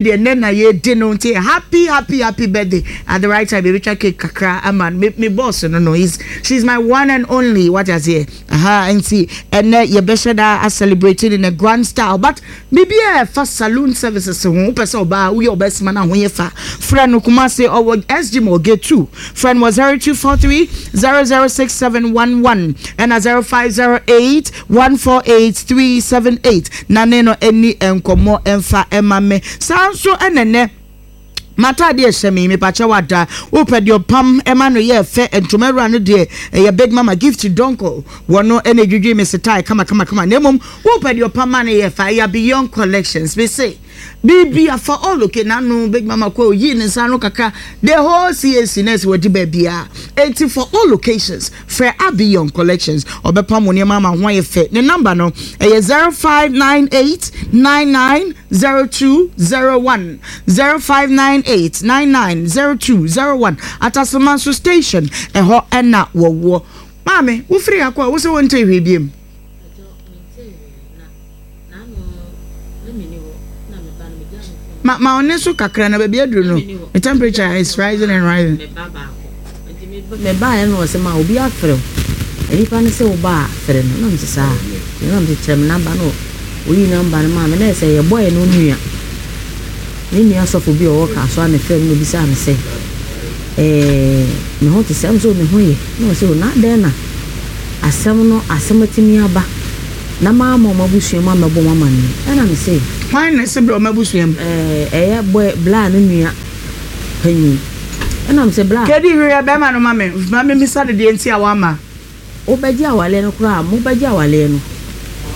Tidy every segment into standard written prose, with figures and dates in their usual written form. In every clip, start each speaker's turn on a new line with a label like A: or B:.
A: Deɛ nnɛ na yɛredi no nti happy happy happy birthday at the right time yɛbɛtwa cake kakra ama no me me boss no no he's she's my one and only wate aseɛ aha nti ɛnɛ yɛbɛhyɛ da a celebrate in a grand style but biribi a ɛfa saloon services ho wopɛ sɛ ɔbaa woyɛ ɔbaa sima no ho yɛ fa frɛ no Kumase ɔwɔ SG Mall gate 2 frɛ no wɔ 0243 006711 ɛna 0508 148378 na ne no ani nkɔmmɔ mfa mma me. Saa nso na ɛnnɛ m'atadeɛ ɛhyɛ me yi, mepakyɛ wada wopɛ deɛ ɔpam ɛma no yɛ fɛ ntoma awura no deɛ ɛyɛ Big Mama Gift Donko wɔ no ɛna edwidwi me setae kama kama kama na mmom wopɛ deɛ ɔpam ma no yɛ fɛ ɛyɛ Beyond Collections me se Biribi afa all okay n'ano big mama kɔ oyii ne nsa ano kakra the whole CAC na ɛsɛ wɔdi baabiara eti for all occasions frɛ Abiyon Collections ɔbɛpam wo nneɛma ama ho ayɛ fɛ ne number no ɛyɛ 0598990201 0598990201 Atasoma nso station ɛhɔ ɛna wɔwɔ maame wofiri ha kɔ a wosɛ wɔntee hwee biem. Ma ma ɔne so kakra na baabi aduru no the temperature is rising and rising.
B: Mebaeɛ no ɔsɛ ma obi afrɛ wo nipa no sɛ woba a frɛ no na mese saa na mese kyerɛ me namba no oyi namba no maa me na ɛsɛ yɛbɔɛ no nua ne nua sɔfo bi a ɔwɔ Kasoa na ɛfrɛ me na obisaa me sɛ ɛɛ me ho te sɛ ɛm sɛ me ho yɛ na ɔsɛ o na adɛn na asɛm no asɛm atumi aba na mamma wɔn abusua mu ammɛbɔ wɔn amanneɛ. Ɛnna mise.
A: Hwan na ɛse brɛ wɔn abusua mu?
B: Ɛɛ, ɛyɛ bɔɛ, Bla no nua panyin. Ɛnna mise, Bla.
A: Kedi, hwehwɛ barima no ma me, ma mimmisa no deɛ nti a wamma.
B: Wobɛgye awaleɛ no koraa a, mobɛgye awaleɛ no.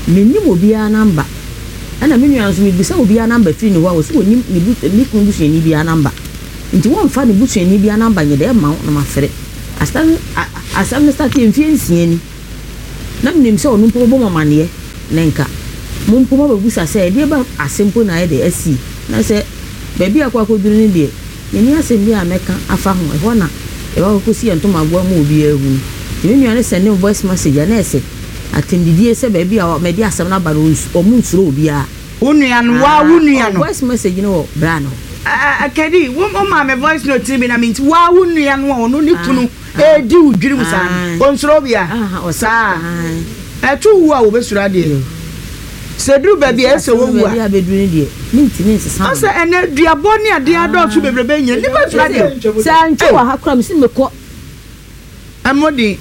B: Mennim obiara namba. Ɛnna me nua no nso, mebisa obiara namba firi ne hɔ a, ɔse ɔnnim ne bu, ne kunu busuani biara namba. Nti wɔmfa ne busuani biara namba nyɛ dɛ mma wo na mafrɛ. Asɛm no, a, asɛm no starteɛ mfeɛ nsia ni. Na menim sɛ ɔno mpo bɛbɔ mo amaneɛ, na nka mo mpo moabɛbisa sɛ, 'Ɛdeɛ bɛn asɛm mpo na ayɛ dɛ asi? Na sɛ baabi a akɔ akɔduru no deɛ, menni asɛm biara a mɛka afa ho. Ɛhɔ na yɛbɛkɔ akɔsi yɛn ntomagoa ama obiara ahunu. Nti me nua no sɛndee me voice message a na ɛsɛ atɛmdidie sɛ baabi a mede asɛm no aba no, wɔnsuro obiara.
A: Wo nua no, woa wo nua no.
B: Voice message no wɔ bra no hɔ.
A: Kadi, wo maa me voice note no bi na menti, woa wo nua no a ɔno ne kunu redi wo dwirim saa no, ɔnsuro obiara? Saa. Ɛto wo a wɔbɛsuro adeɛ. Sɛ ɛduru baabi a ɛsɛ sɛ wɔwu a. Ɔsɛ ɛnɛ duabɔ ne adeɛ adɔɔso bebrebe nyina, nnipa suro adeɛ.
B: Sɛ antwa wɔ ha koraa, mese mekɔ.
A: Ɛmmɔ din.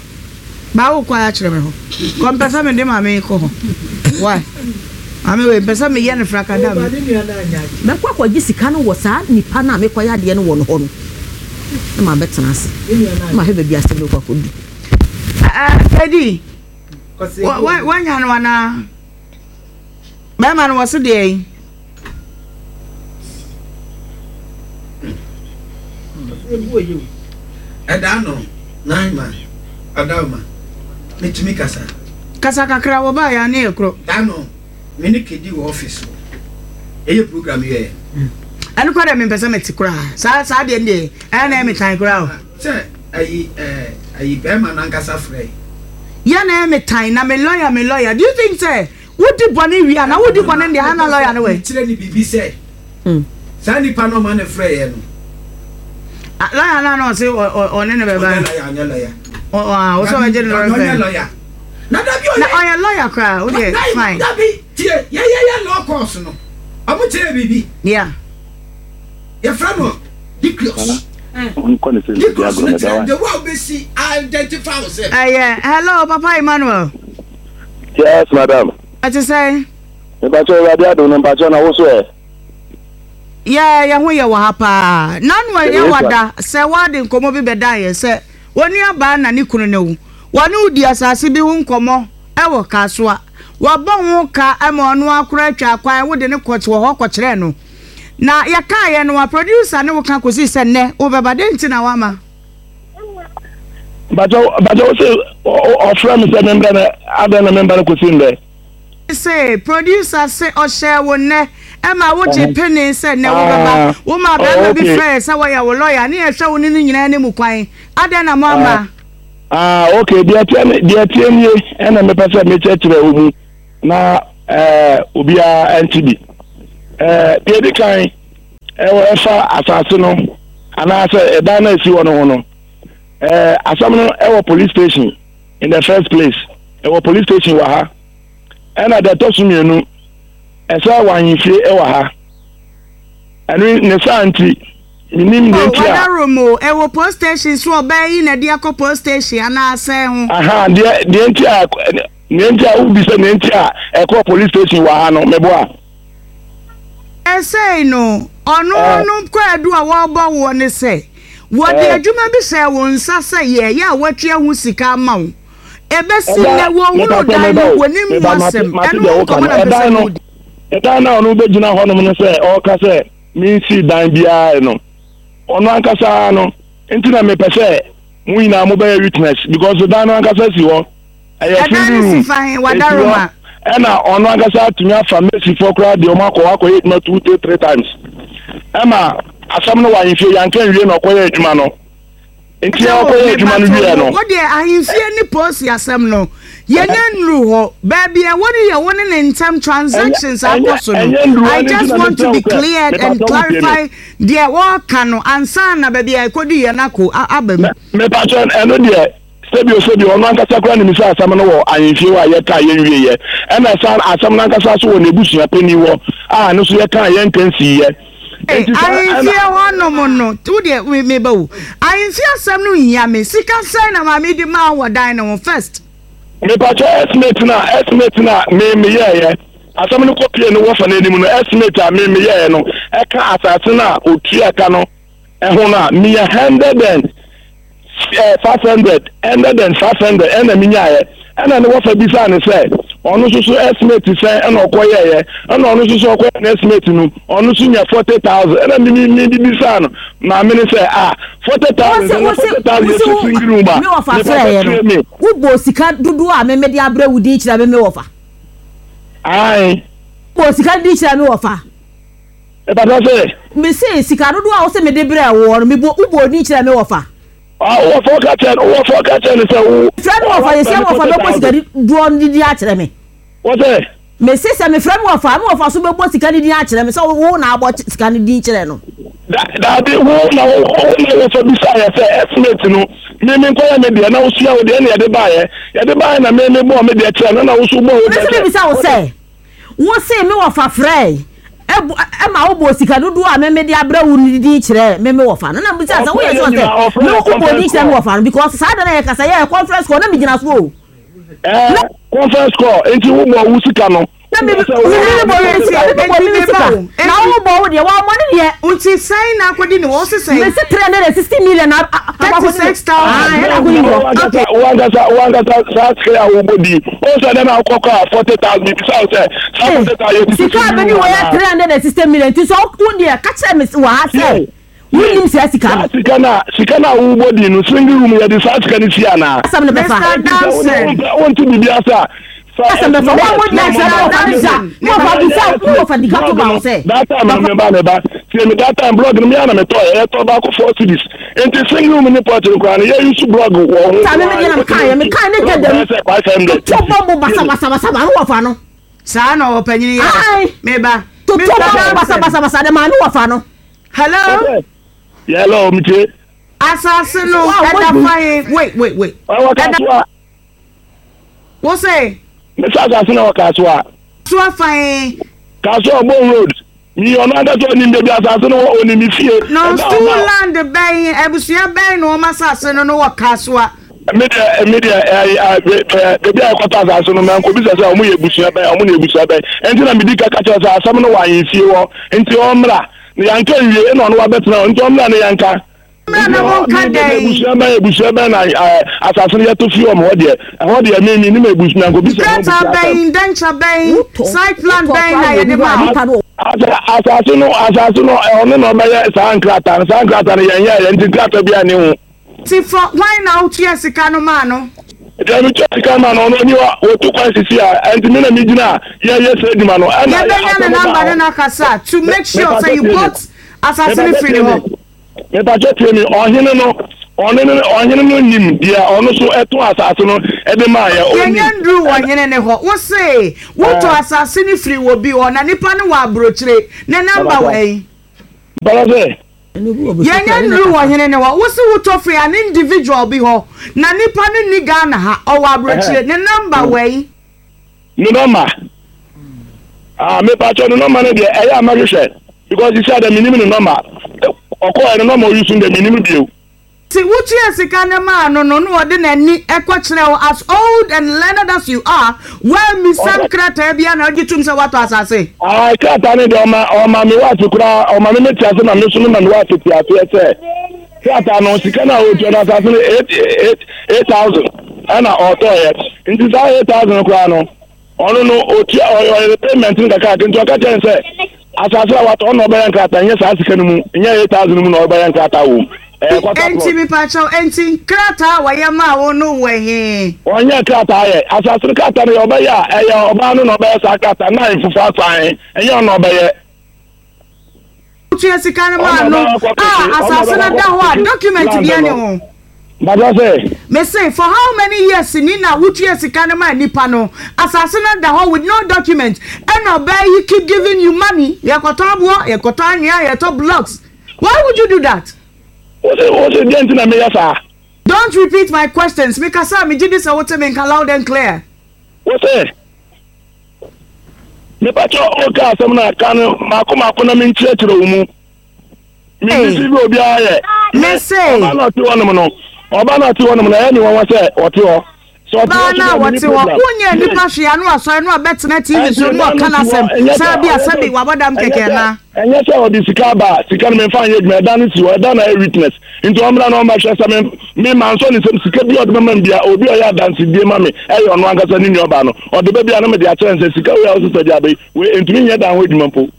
A: Baa wo kwan akyerɛ me hɔ. Kɔ mpɛ sɛ mede maame yi kɔ hɔ. Why? Maame wei mpɛ sɛ meyɛ no frakadam.
B: Mɛkɔ akɔgye sika no wɔ saa nipa no a mekɔyɛ adeɛ no wɔ no hɔ no, na mabɛtena ase na mahwɛ baabi asɛm no kɔ akɔdu.
A: Kedi, woanya no anaa? Bɛrima no wɔ se deɛ yi?
C: Ɛda no nan ma ɔda ma metumi kasa.
A: Kasa kakra wɔ ba ya ne yɛ korɔ.
C: Da no me ne Kedi wɔ office hɔ yɛyɛ program yɛ.
A: Ɛno kora deɛ mempɛ sɛ mete koraa saa saa deɛ deɛ ɛyɛ na ɛyɛ me tan koraa o.
C: Sɛ ayi ɛɛ ayi bɛrima nankasa frɛ.
A: Yɛ na ɛyɛ me tan na me lawyer me lawyer do you think sɛ Wodi bɔne wie a, na wodi bɔne no deɛ, ha na lɔya no wɔ yi.
C: Kyerɛ no biribi sɛ, saa nipa no ɔma no frɛeɛ no.
A: Lɔya no a na ɔse ɔne no bɛba.
C: Ɔnyɛ lɔya, ɔnyɛ lɔya.
A: Ɔsɛ ɔbɛgye no lɔya fɛ.
C: Ɔnyɛ lɔya. Na dabi ɔyɛ.
A: Na ɔyɛ lɔya koraa, wo deɛ fine.
C: Dabi, tie, yɛyɛyɛ law course no, ɔmo kyerɛ biribi.
A: Yeah.
C: Yɛfrɛ no Dicus. Dicus no kyerɛ the way a wobɛsi identify yourself.
A: Ɛyɛ, hello, Papa Emmanuel.
D: Yes madam.
A: Ɛte sɛn?
D: Mepakyɛw Awurade adom no mpakyɛw na wo so ɛ?
A: Yɛ yɛ ho yɛ wɔ ha paa. Nanu ɛnyɛ wada sɛ wade nkɔmmɔ bi bɛdan yɛ sɛ onua baa na ne kunu ne wo. Wɔne wo di asase bi ho nkɔmmɔ ɛwɔ Kasoa. Wabɔ ho ka ma ɔno ara koraa atwa kwan wode no kɔ wɔ hɔ kɔkyerɛɛ no. Na yɛkaeɛ no wa producer ne wo ka kɔsii sɛ nnɛ wobɛba dɛn nti na woamma?
D: Mpakyɛ mpakyɛ wo se ɔfrɛ me sɛ membrɛ no adɛn na memba no kɔsi ndɛ?
A: Se producer se ɔhyɛɛ wo nnɛ ɛma wo gye penee sɛ nnɛ wo bɛba, wo maa bɛɛma bi frɛɛ sɛ wɔyɛ wo lawyer ne yɛhwɛ wo ne no nyinaa anim kwan, adɛn na mo amma?
D: Ah ok deɛ ɛteɛ ne deɛ ɛteɛ nie ɛna mepɛ sɛ mekyerɛkyerɛ wo mu na ɛɛ obiara ɛnte bi ɛɛ deɛ ɛdi kan. ɛwɔ ɛfa asase no anaasɛ ɛdan no a ɛsi hɔ no ho no, ɛɛ asɛm no ɛwɔ police station in the first place. Ɛwɔ police station wɔ ha. Ɛna deɛ ɛtɔ so mmienu, ɛsɛ wɔ ahemfie ɛwɔ ha. Ɛno ne saa nti, menim deɛ
A: Oh,
D: nti a.
A: wadarom o, ɛwɔ post station so ɔbaa yi na ɛde akɔ post station anaasɛ ho.
D: Aha, deɛ deɛ nti a deɛ nti a wobisa deɛ nti a ɛkɔɔ police station wɔ ha no, meboa.
A: Seesei no, ɔno
D: Eh.
A: no kwaadu a wɔrebɔ woɔ ne sɛ, wɔde
D: Eh.
A: adwuma bi hyɛɛ wo nsa sɛ yɛ, yɛ a wɔatua ho sika ama wo. Ɛbɛsi
D: Ɛdan,
A: nnɛ, wɔnhunu
D: mepatɔ
A: dan
D: meba
A: no,
D: o,
A: wɔnim ho
D: meba mate
A: asɛm.
D: mate
A: Ɛno
D: deɛ
A: ho
D: woka
A: nkɔmmɔ
D: no.
A: na mepɛ sɛ
D: Ɛdan no,
A: modi.
D: ɛdan no a ɔno bɛgyina hɔnom no sɛ ɔreka sɛ mensii dan biara no, ɔno ankasa no, nti na mepɛ sɛ mo nyinaa mobɛyɛ witness because dan no ankasa si hɔ. Ɛyɛ
A: Ɛdan
D: single
A: no si
D: room,
A: fa he,
D: ɛsi hɔ,
A: Wadaroma?
D: ɛna ɔno ankasa atumi afa mesifoɔ koraa deɛ ɔmo akɔ hɔ akɔyɛ adwuma two to three times. Ɛma asɛm no wɔ ahemfie, yɛanka nwie na ɔkɔyɛ adwuma no. Nti
A: Kyɛ wo,
D: ɔkɔyɛ adwuma no
A: mepakyɛw
D: wieɛ
A: wo,
D: no.
A: wo deɛ ahemfie ne polisi asɛm no, yɛnya nnuru hɔ. Baabi a ɛwɔ no yɛ wo ne ne ntam transactions akɔ so no. I just want to be cleared and clarify deɛ wɔreka no ansa na baabi a ɛkɔduiɛ no akɔ aba mu.
D: Mepakyɛw, ɛno deɛ Sɛbio sɛbio, ɔno ankasa koraa nim sɛ asɛm no wɔ ahemfie hɔ a yɛkaa yɛnwieeɛ. Ɛna saa asɛm no ankasa nso wɔ n'abusua panin hɔ a ɛno nso yɛkaa yɛnka nsiiɛ.
A: Ei,
D: Enti saa ɛna.
A: ahemfie hɔ nom no, wo deɛ me meba o. Ahemfie asɛm no nhia me. Sika sɛn na maame de maa wo wɔ dan no ho first?
D: Mepakyɛ estimate no a estimate no a me meyɛɛyɛ asɛm no kɔ pie no wɔfa no anim no estimate a me meyɛɛyɛ no ɛka asase no a otua ka no ɛho no a meyɛ hundred and 500, 100 and 500 ɛna menyaeɛ. Ɛna ne wɔfa bisaa no sɛ ɔno nso so estimate sɛn ɛna ɔkɔyɛeɛ. Ɛna ɔno nso so ɔkɔyɛ no estimate no, ɔno nso nya 40,000. Ɛna me me me bisaa no maame no sɛ ah 40,000
B: Wose
D: sɛ na
B: wose
D: 40,000
B: wose
D: yɛ
B: wo
D: sitting room a
B: me wɔfa
D: mepa
B: frɛeɛ
D: kyerɛ
B: no
D: me.
B: wobɔɔ sika dodoɔ a me mede abrɛ wo din kyerɛ me me wɔfa.
D: Ae.
B: Wobɔɔ sika no din kyerɛ me wɔfa.
D: Mepatɔ sɛ.
B: Mese sika dodoɔ a wose mede brɛɛ woɔ no mebɔ wobɔɔ din kyerɛ me wɔfa.
D: Ah, wo wɔfa ɔka kyerɛ no, wo wɔfa ɔka kyerɛ no sɛ wo.
B: Mefrɛ me wɔfa yɛsi me wɔfa bɛbɔ sika dodoɔ no din akyerɛ me.
D: Wɔ sɛ.
B: Mese sɛ mefrɛ me wɔfa a, me wɔfa so bɛbɔ sika no din akyerɛ me sɛ wo na abɔ sika no din kyerɛ no.
D: Da, daabi, wo na wo wo na wɔfa bisaeɛ sɛ estimate no, me me nkɔyɛ me deɛ na wosua wo deɛ ɛna yɛde baeɛ, yɛde baeɛ na me me bɔɔ me deɛ kyerɛ no na wo nso wobɔɔ wo deɛ
B: Mese
D: kyerɛ.
B: mebisa wo sɛ, Wo se me wɔfa frɛe ma wobɔɔ sika dodoɔ a me mede abrɛ wo no din kyerɛɛ me me wɔfa no. Na mebisa sɛ woyɛ sure sɛ me wobɔɔ din kyerɛ me wɔfa no because saa da no a yɛkasa yɛyɛ conference call na megyina so o.
D: Ɛɛ conference call nti wobɔɔ wo sika no.
B: Na me me me bɔ me sika me bɔ me sika na wo bɔ wo deɛ wɔn ne deɛ.
A: Nti sɛn na akɔdi ne hɔ ɔsi sɛn.
B: Mesi 360 million na
A: 36,000.
B: Ɛna akɔdi ne hɔ.
D: Okay. Wo ankasa wo ankasa saa sika a wobɔ di o sɛ dɛn na wokɔ kɔ a 40,000 mebisa wo sɛ saa 40,000 yɛ
B: Sika a bɛdi wɔ yɛ 360 million nti sɛ wo deɛ ka kyerɛ me wɔ ha sɛ wonim saa sika no.
D: Saa sika no a sika no a wobɔ di no single room yɛde saa sika no si anaa.
B: Asɛm no bɛfa.
A: Mr. Danson.
D: Wonte biribi ase a.
B: Asɛm bɛfa. Wɔn mo deɛ sɛ wɔfa bisa wɔfa bisa wɔfa di ka to ba wo sɛ.
D: That time no meba meba tie me that time blog no me ana metɔ yɛ yɛtɔ baako 4 cedis nti single room ne porch no koraa no yɛ use blog wɔ ho.
B: Saa me me deɛ na meka yɛ meka ne gya dɛm.
D: 500.
B: Toto bɔ mo basabasabasa no wɔfa no.
A: Saa na ɔpanyin yɛ. Meba.
B: Toto bɔ mo basabasabasa de maa no wɔfa no.
A: Hello.
D: Hello, metie.
A: Asase no ɛda fa he wait wait wait.
D: Ɛwɔ Kasoa.
A: Wo se.
D: Mesa asase na wɔ Kasoa.
A: Kasoa fa he.
D: Kasoa Obon Road. Mi ɔno ankasa onim baabi asase no wɔ, onim me fie.
A: No stool land bɛn, abusua bɛn na wɔn asase no no wɔ Kasoa?
D: Me deɛ, me deɛ, ɛɛ, baabi a yɛkɔtɔ asase no, mankɔbisa sɛ wɔn yɛ abusua bɛn, wɔn ne abusua bɛn. Ɛnti na medi ka ka kyerɛ sɛ asɛm no wɔ ahemfie hɔ, nti ɔmmra. Na yɛanka nwie, ɛna ɔno wabɛtena hɔ, nti ɔmmra na yɛnka.
A: Mmra na monka dɛn?
D: Abusua bɛn, abusua bɛn na asase no yɛtɔ fi wɔn hɔ deɛ, ɛhɔ deɛ me menim abusua, mankɔbisa wɔn abusua
A: Nkrataa
D: asɛm.
A: bɛn, indenture bɛn, site plan bɛn na yɛde maa wo?
D: Asa, asase no, asase no, ɔno na ɔbɛyɛ saa nkrataa no, saa nkrataa no yɛnyɛeɛ, nti nkrataa biara nni ho.
A: Nti fɔ, hwan na wotua sika no maa no?
D: Deɛ metua sika maa no, ɔno ɔnni hɔ, wɔtu kwan sisi a, ɛnti me na megyina a yɛyɛ saa adwuma no, ɛna
A: Yɛbɛnya ne
D: asɛm baa
A: number ne
D: hɔ.
A: no akasa to make sure
D: Mepakyɛ
A: sɛ you
D: tie me,
A: bought asase no
D: mepakyɛ
A: firi
D: tie
A: ne
D: me,
A: hɔ.
D: mepakyɛ tie me, ɔhene no, ɔne no, ɔhene no nim deɛ ɔno so ɛtɔn asase no ɛde maa yɛ, ɔnim.
A: Yɛnyɛ nduru ɔhene no hɔ. Wo se wotɔ asase no firi wɔ bi hɔ na nipa no wɔ abrokyire, ne number wɔ
D: Mepakyɛ.
A: he?
D: Bala sɛ.
A: Yɛnyɛ nnuru wɔ hene ne hɔ. Wo se wotɔ firi an individual bi hɔ na nipa no nni Ghana ha, ɔwɔ aburokyire. Ne number wɛn?
D: Ne number? Ah, mepakyɛw ne number no deɛ ɛyɛ a mɛhwehwɛ because sisi a deɛ menim ne number. Ɔkɔɛ ne number ɔyi so no deɛ menim bio.
A: Nti wotuaa sika no maa no no na ɔde n'ani kɔ kyerɛɛ wo as old and learned as you are woammisa nkrataa biara na wogye tom sɛ woatɔ asase?
D: Ae krataa no deɛ ɔma ɔma me wife koraa ɔma me mete ase ma me nso mema me wife te aseɛ sɛ krataa no sika no a ɔtua no asase no 8000 ɛna ɔtɔeɛ nti saa 8000 no koraa no Ɔno no, otua ɔyɛ ɔyɛ payment no kakraka nti ɔka kyerɛ no sɛ asase a watɔ ɔno na ɔbɛyɛ nkrataa nyɛ saa sika no mu nyɛ 8000 no mu na ɔbɛyɛ nkrataa wɔ mu. Ɛyɛ quarter plot.
A: Enti mepakyɛw, enti nkrataa a wɔyɛ maa wo no wɔ he?
D: Ɔnyɛ krataa yɛ. Asase no krataa no yɛ ɔbɛyɛ a, ɛyɛ ɔbaa no na ɔbɛyɛ saa krataa no na ahemfo asan, ɛnyɛ ɔno na ɔbɛyɛ.
A: Wotua sika no maa no a asase no da hɔ a document bia ni ho.
D: Bàbá sɛ.
A: Me se for how many years ni na wotua sika no maa nipa no asase no da hɔ with no document ɛna ɔbaa yi keep giving you money yɛkɔtɔ aboɔ yɛkɔtɔ anwea yɛtɔ blocks why would you do that.
D: Wose wose deɛ nti na meyɛ saa.
A: Don't repeat my questions me kasa a megye di sɛ wote me nka loud and clear.
D: Wose. Mepakyɛ wo ka asɛm no a ka no mako mako na menkyerɛkyerɛ wo mu. Mensisi bi obiara yɛ.
A: Me se.
D: Ɔba na ɔte hɔnom no, ɔba na ɔte hɔnom no, ɛyɛ me nwanwa sɛ ɔte hɔ. Sɛ ɔte
A: hɔ
D: so
A: na wɔte hɔ, wonyɛ nipa hwee ano asɔre no abɛtena TV so no ɔka n'asɛm saa bi asɛm bi wabɔ dam kɛkɛ na.
D: Ɛnyɛ sɛ ɔde sika aba a, sika no memfa nyɛ adwuma, ɛda no si hɔ, ɛda na ɛyɛ witness. Nti ɔmmra na ɔmmɛhwɛ sɛ me, me mansɔ ne nsam, sika bi a ɔde bɛma me biara, obi a ɔyɛ adansedie ma me, ɛyɛ ɔno ankasa ne nuabaa no, ɔde ba bi a na mede akyerɛ no sɛ sika wei a wosesa de aba yi, wei ɛntumi nyɛ dan ho adwuma mpo.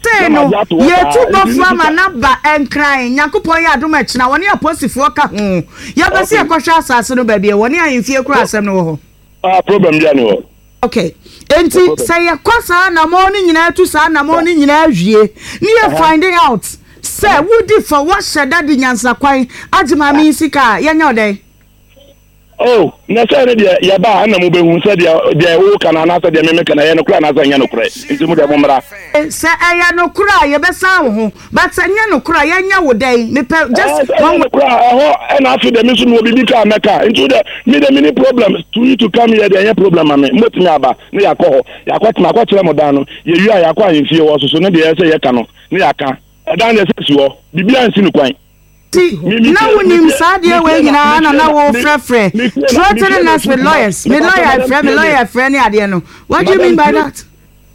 A: Sei
D: Na
A: no,
D: magye ato hɔ
A: yɛtu
D: saa, nti ne
A: bɔfoɔ ama
D: sika.
A: no aba Nkran, Nyankopɔn yɛ adom a ɛkyena wɔne aposifoɔ ka ho, yɛpɛ sɛ
D: Okay.
A: yɛkɔhwɛ asase no baabi a ɛwɔ ne ahemfie koro a asɛm no wɔ hɔ.
D: Ah, problem biara ni hɔ.
A: Ok, enti sɛ yɛkɔ saa anamɔn no nyinaa tu saa anamɔn no nyinaa wie ne yɛ finding out sɛ wodi fɔ woahyɛ da de nyansakwan agye maame yi sika a, yɛnyɛ wo dɛn?
D: Oh, na sɛ ne deɛ yɛba a ɛna mobɛhu sɛ deɛ deɛ woka no anaasɛ deɛ me meka no ɛyɛ nokorɛ anaasɛ ɛnyɛ nokorɛ. Nti mo deɛ mommra.
A: Sɛ ɛyɛ nokorɛ a yɛbɛsan wo ho but sɛ ɛnyɛ nokorɛ a yɛnyɛ wo dɛn? Mepɛ just
D: Ɛɛ sɛ ɛnyɛ
A: one.
D: nokorɛ a ɛhɔ ɛna afei deɛ me nso mewɔ biribi ka a mɛka. Nti wo deɛ me deɛ menni problem to you to come here deɛ ɛnyɛ problem ma me. Mobɛtumi aba na yɛakɔ hɔ. Yɛakɔ makɔkyerɛ mo dan no. Yɛwie a yɛakɔ ahemfie hɔ nso so ne deɛ ɛsɛ sɛ yɛka no na yɛaka. Ɛdan deɛ sɛ ɛsi hɔ. Biribiara nsi no kwan.
A: Nti na wonim saa adeɛ wei nyinaa na na wofrɛfrɛ threatening us with lawyers me lawyer frɛ me lawyer frɛ ne adeɛ no what do you mean by that.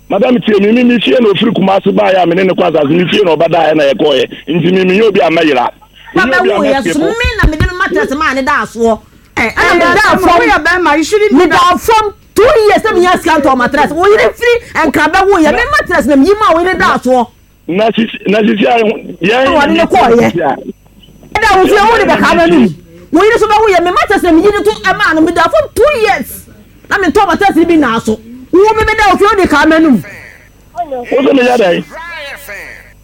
D: Madam tie me, me me fie na ofiri Kumasi baeɛ a me ne no kɔ asase, me fie na ɔbɛdaeɛ na yɛkɔeɛ, nti me menyɛ obi a mɛyera, menyɛ obi a
B: Bɛwo yɛ
D: mɛskepo.
B: so me na mede me mattress maa ne daa soɔ
A: Ɛna
B: ɛna medaa fam
A: woyɛ bɛrima you shouldn't do that.
B: medaa fam 2 years na menya sika ntɔɔ mattress wo yere firi nkra bɛwo yɛ me mattress na meyi maa wo yere daa soɔ.
D: Na sisi na sisi a deɛ
B: na wɔde no kɔɔyɛ ɛda wo fie wo de bɛka m'anum wo yere so bɛwo yɛ me mattress na meyi no to ɛmaa no medaa fam 2 years na mentɔɔ mattress no bi naa so wo me bɛda wo fie wo de kaa m'anum.
D: Wo sɛ meyɛ dɛn?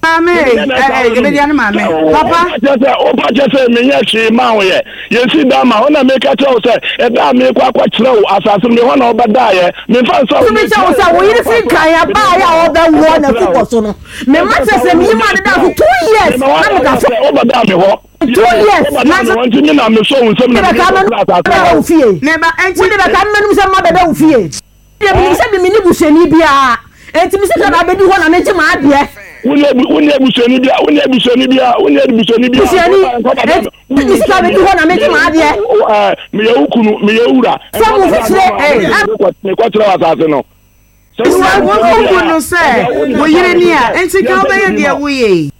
A: Maame eh, ebedia ne maame. Papa.
D: Kyɛ sɛ wopa kyɛ sɛ menyɛ hwee maa wo yɛ. Yɛnsi dan ma wo na meka kyerɛ wo sɛ ɛda a meekɔ akɔkyerɛ wo asase no me hɔ na wobɛdaeɛ. Memfa nsa wo
B: Tumi kyɛ wo sɛ wo yere firi nkan abaeɛ a ɔbɛwoɔ n'afubɔ so no me mattress na meyi maa ne daa so 2 years na meda fam.
D: Wobɛdaa me hɔ.
B: 2 years
D: Wobɛdaa me hɔ nti me na mesɔ wo nsam na
B: wode
D: mede
B: bɛka
D: kɔkyerɛ asase
B: bɛda wo fie
A: Meba enti.
B: wode bɛka mmanum sɛ mma bɛda wo fie. Deɛ menim sɛ me menni busuani biara, enti me sika na abɛdi hɔ na megye m'adeɛ.
D: Wonni abusuani biara, wonni abusuani biara, wonni abusuani biara.
B: Busuani, enti me sika abɛdi hɔ na megye m'adeɛ.
D: Meyɛ wo kunu, meyɛ wo wura.
B: Sɛ mo mfifire,
D: Mekɔkyerɛ wo asase no.
A: Sɛ wobu no sɛ wo yere ni a, enti ka wobɛyɛ deɛ woyɛ yi.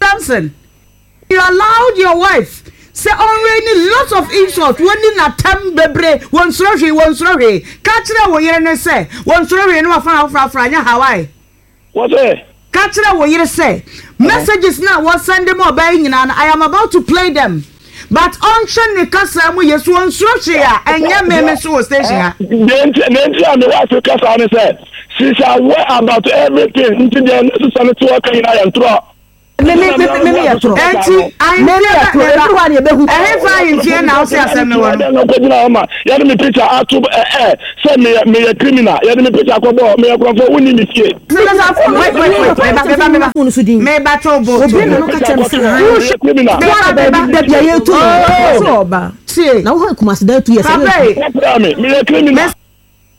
A: Samson. You allowed your wife sɛ ɔnraini lots of insult wɔnni n'atɛm bebree wɔnsuro hwee wɔnsuro hwee ka kyerɛ wo yere no sɛ wɔnsuro hwee na wafa afrafra nyɛ Hawaii.
D: Wɔsɛ.
A: Ka kyerɛ wo yere sɛ messages no a wɔsɛnde ma ɔbaa yi nyinaa no I am about to play them but ɔnhwɛ ne kasa mu yie so ɔnsuro hwee a ɛnyɛ me me so wɔ station ha.
D: Deɛ nti a me wife ka saa ne sɛ she is aware about everything nti deɛ ne sesa no te hɔ ka nyinaa yɛ ntorɔ.
B: Me me me me me yɛ torɔ.
A: Enti
B: Me me yɛ
A: ahemfie
B: torɔ.
A: bɛ
B: Ɛduru hɔ a na yɛbɛhu.
A: Ɛhefa ahemfie na wose asɛm no wɔ no?
D: Na ɔkɔgyina hɔ ma yɛde me picture ato ɛ ɛ sɛ meyɛ meyɛ criminal yɛde me picture akɔbɔ meyɛ korɔmfoɔ wonni me fie.
A: Meba wait wait wait meba meba meba
B: Phone so din.
A: meba to bo to
B: Obi na
A: bo.
B: no ka kyerɛ me sɛ han.
D: Meyɛ criminal.
A: Meba
B: Wa
A: meba
B: baabi da bia yɛtu no.
A: Oh
B: Sɛ ɔba.
A: tie
B: Na wo hɔ Kumasi da tu yɛ sɛ
A: papa
B: yɛtu.
A: yi.
D: Wɔpra me meyɛ criminal.
A: Mese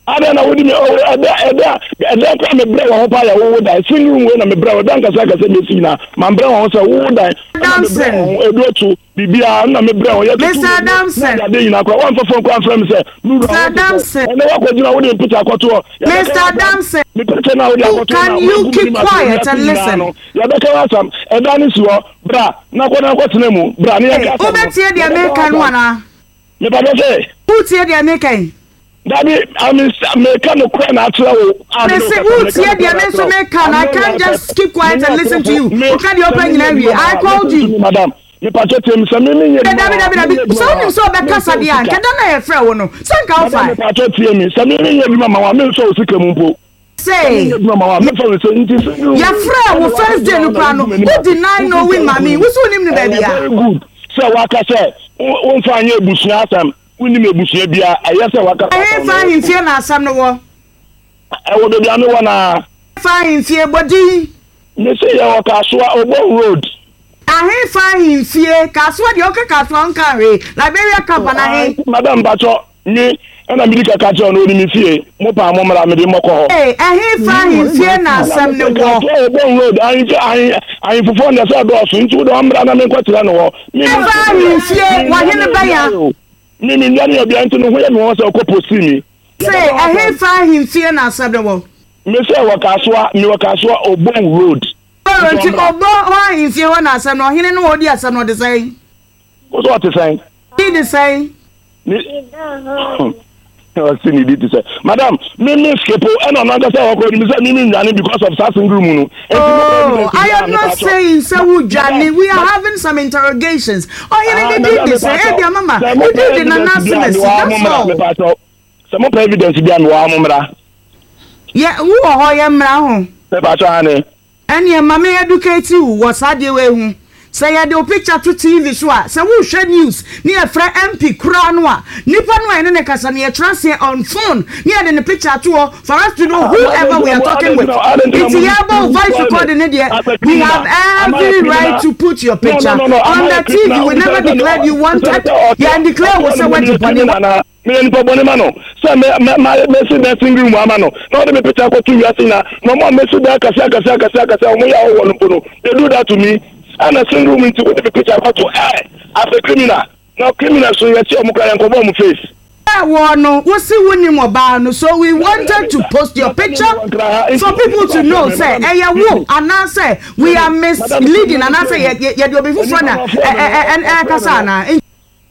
D: Adɛn na wode me oh ɛda ɛda ɛda koraa mebrɛ wɔ ho paa yɛ wowo dan single room wei na mebrɛ wɔ ɛda nkasa akasa mesi nyinaa mambrɛ wɔ ho sɛ wowo dan ɛna mebrɛ
A: Adamson
D: wɔ ho edu otu biribiara ɛna mebrɛ wɔ yɛtutu
A: Mr.
D: wɔ mu na
A: Adamson
D: ade ade nyinaa koraa wɔmfa fon koraa mfrɛ me sɛ me wura
A: Mr.
D: ho te sɛ
A: Adamson
D: ɛnɛ woakɔgyina wode mpita akɔto hɔ yɛbɛka
A: Mr.
D: w'asɛm
A: Adamson
D: me picture no a wode
A: you
D: akɔto
A: can
D: na
A: you
D: woagu
A: keep
D: m'anim ase wɔ
A: quiet
D: wiase
A: and
D: nyinaa
A: listen.
D: no yɛbɛka w'asɛm ɛda no si hɔ bra na kɔ na kɔtena mu bra ne
A: Hey,
D: yɛnka asɛm no
A: wobɛtie deɛ
D: yɛbɛka
A: meka no
D: w'asɛm
A: anaa?
D: mepatɔ sɛ
A: Wotie deɛ meka yi?
D: Dabi, I meka nokorɛ na akyerɛ wo a mene
A: Mese
D: wo kasa, meka
A: wotie
D: nokorɛ
A: deɛ
D: na
A: me nso
D: akyerɛ wo.
A: meka no.
D: I'm
A: I
D: not
A: can't
D: lying
A: just
D: person.
A: keep quiet
D: Menyɛ
A: and listen to
D: ɔtorofo.
A: you.
D: Me,
A: Woka deɛ
D: sɛ
A: wopɛ
D: menyɛ
A: nyinaa wie.
D: adwuma ma
A: I
D: wo a,
A: called
D: listen to
A: you.
D: me madam. Mepatwɛ tie me, sɛ me menyɛ adwuma
A: Dabi
D: ma wo
A: dabi
D: a,
A: dabi.
D: menyɛ adwuma
A: Sɛ
D: ma
A: wonim
D: wo
A: sɛ
D: a,
A: wobɛkasa
D: memfa wo
A: deɛ a,
D: sika.
A: nka da no a yɛfrɛ wo no, sɛ nka
D: Madam,
A: wofae.
D: mepatwɛ tie me, sɛ me menyɛ adwuma ma wo a, memfa wo sika mu mpo. Sɛ
A: Say,
D: menyɛ adwuma ma wo a, memfa wo sika nti sɛ
A: yɛfrɛɛ wo
D: ɛna
A: first day
D: wakɔgyina
A: no
D: hɔ na
A: koraa no,
D: wogu m'anim
A: wo
D: ase,
A: deny
D: wogu
A: knowing
D: sɛ
A: maame yi.
D: wogu
A: Wo so wonim no
D: Ɛyɛ
A: baabi a?
D: very good sɛ waka sɛ wo- womfa nyɛ abusua asɛm, wonnim abusua biara, ɛyɛ sɛ waka saa asɛm
A: Ɛhefa
D: no, ɛyɛ good.
A: ahemfie na asɛm no wɔ?
D: Ɛwɔ baabi a mewɔ no ara.
A: Ɛhefa ahemfie? Bɔ din.
D: Mese yɛwɔ Kasoa, Obon Road.
A: Ahefa ahemfie? Kasoa deɛ woka Kasoa wonka hwee. Liberia camp anaa he?
D: Madam mpakyɛ me ɛna medi ka ka kyerɛ no onim me fie mo paa mo mmra mede mɔkɔ hɔ.
A: Ee, ɛhefa ahemfie na asɛm no wɔ?
D: Kasoa Obon Road ahemfie ahe ahemfofoɔ no deɛ sɛ ɛdɔɔso nti wode ɔmmra na menkɔ kyerɛ no hɔ. Me me
A: Ɛhefa ahemfie? Wahene bɛn a?
D: Me me nua ne ɔbea nti no ho yɛ me wɔn sɛ ɔkɔ posi mi.
A: Se ɛhefa ahemfie na asɛm no wɔ?
D: Me sɛ wɔ Kasoa, me wɔ Kasoa Obon Road.
A: Ɔrɔ nti Obon hɔ ahemfie hɔ na asɛm no, ɔhene no a ɔdi asɛm no ɔde sɛn?
D: Wo sɛ ɔte sɛn?
A: Di de sɛn?
D: Ne ɔsi ne di te sɛ madam me me skipo ɛna ɔno ankasa wɔ kɔ nim sɛ me me nwane because of saa single mu no.
A: Oh, I am not saying sɛ wo dwane we are having some interrogations. Ɔhene ne din de sɛ ebia mama ne din de Nana Asemasi that's all.
D: Sɛ mo pɛ evidence bi a mewɔ ha mo mmra.
A: Yɛ wo wɔ hɔ yɛ mmra ho.
D: Mepakyɛw aane.
A: Ɛneɛ ma me educate wo wɔ saa adeɛ wei ho. Sɛ yɛde wo picture to TV so a, sɛ worehwɛ news ne yɛfrɛ MP koraa no a, nipa no a yɛne no kasa no yɛtena aseɛ on phone ne yɛde ne picture ato hɔ for us to know whoever we are talking with. Nti yɛrebɔ wo voice recording no deɛ, we have every right to put your picture on the TV. We never declared you wanted, yɛn declare wo sɛ woadi bɔne.
D: Meyɛ nipa bɔne ma no sɛ mɛ mɛ mayɛ mɛsi dan single room ama no na ɔde me picture akɔto wiase nyinaa na ɔmo a mɛsi dan akɛse akɛse akɛse akɛse a ɔmo yɛ ahɔhoɔ no mpo no they do that to me ɛna single room nti wode me picture akɔto ɛ as a criminal na criminal so yɛkye ɔmo koraa yɛnkɔbɔ ɔmo face.
A: Wɔ no wo se wo nim ɔbaa no so we wanted to post your picture for people to know sɛ ɛyɛ wo anaasɛ we are misleading anaasɛ yɛde obi foforɔ na ɛkasa anaa.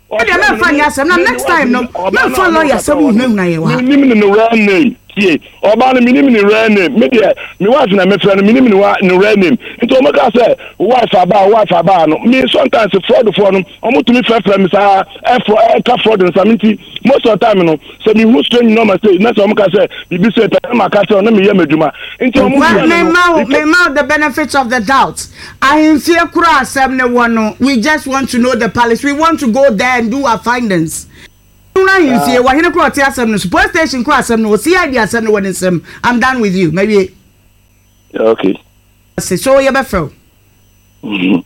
A: Ɛdeɛ mɛmfa nyɛ asɛm na next time no mɛmfa lawyer sɛ wo hunahuna yɛn wɔ ha.
D: Menim ne ne real name tie ɔbaa no menim ne real name me deɛ me wife na mefrɛ no menim ne wa ne real name nti wɔn ka sɛ wife abaa wife abaa no me sometimes fraud foɔ no wɔn tumi frɛfrɛ me saa ɛfrɔ ɛka fraud nsa me nti most of the time no sɛ mehu strange number sei na sɛ wɔn ka sɛ biribi sɛ pɛ na maka kyerɛ wɔn na meyɛ m'adwuma nti wɔn
A: Well,
D: frɛ me no
A: mema wo mema wo the benefit of the doubt. Ahemfie koro a asɛm no wɔ no, we just want to know the palace, we want to go there and do our findings. Hunu ahemfie, wɔ hene koro a ɔte asɛm no so, police station koro a asɛm no wɔ, CID asɛm no wɔ ne nsam. I'm done with you. Mawie.
D: Okay.
A: Ase, so yɛbɛfrɛ wo.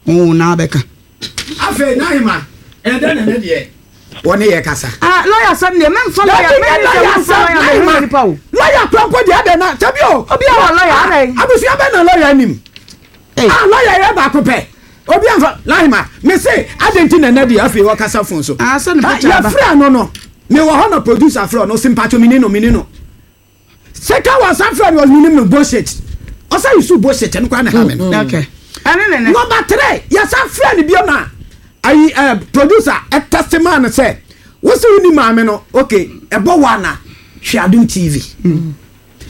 A: Wo na abɛka.
C: Afei n'ahema ɛyɛ dɛn na ɛnɛ deɛ wɔne yɛ kasa.
A: Ah lawyer asɛm deɛ mɛnfa lawyer mɛni sɛ wonfa lawyer mɛ hunu nipa o.
C: Lawyer kura mpo deɛ adɛn na sɛbi o.
A: Obi a wɔ lawyer adɛn.
C: Abusua bɛn na lawyer nim. Ah lawyer yɛ baako pɛ obi anfa n'ahema mese adɛn ti na ɛnɛ deɛ afei wɔkasa fon so.
A: Ah sɛ ne picture aba.
C: Yɛfrɛ no no mewɔ hɔ na producer frɛ no ɔse mpakyɛ mini no mini no. Sika wa san frɛ no ɔnim no bullshit. Ɔsan use bullshit ɛno koraa na ɛha me no.
A: Mm, okay. Ɛne ne ne.
C: Number three, yɛsan frɛ no bio na ayi eh, producer ɛtɛste maa no sɛ wosi wo ni maame no okay ɛbɔ wa na hwɛ Adum TV. Mm.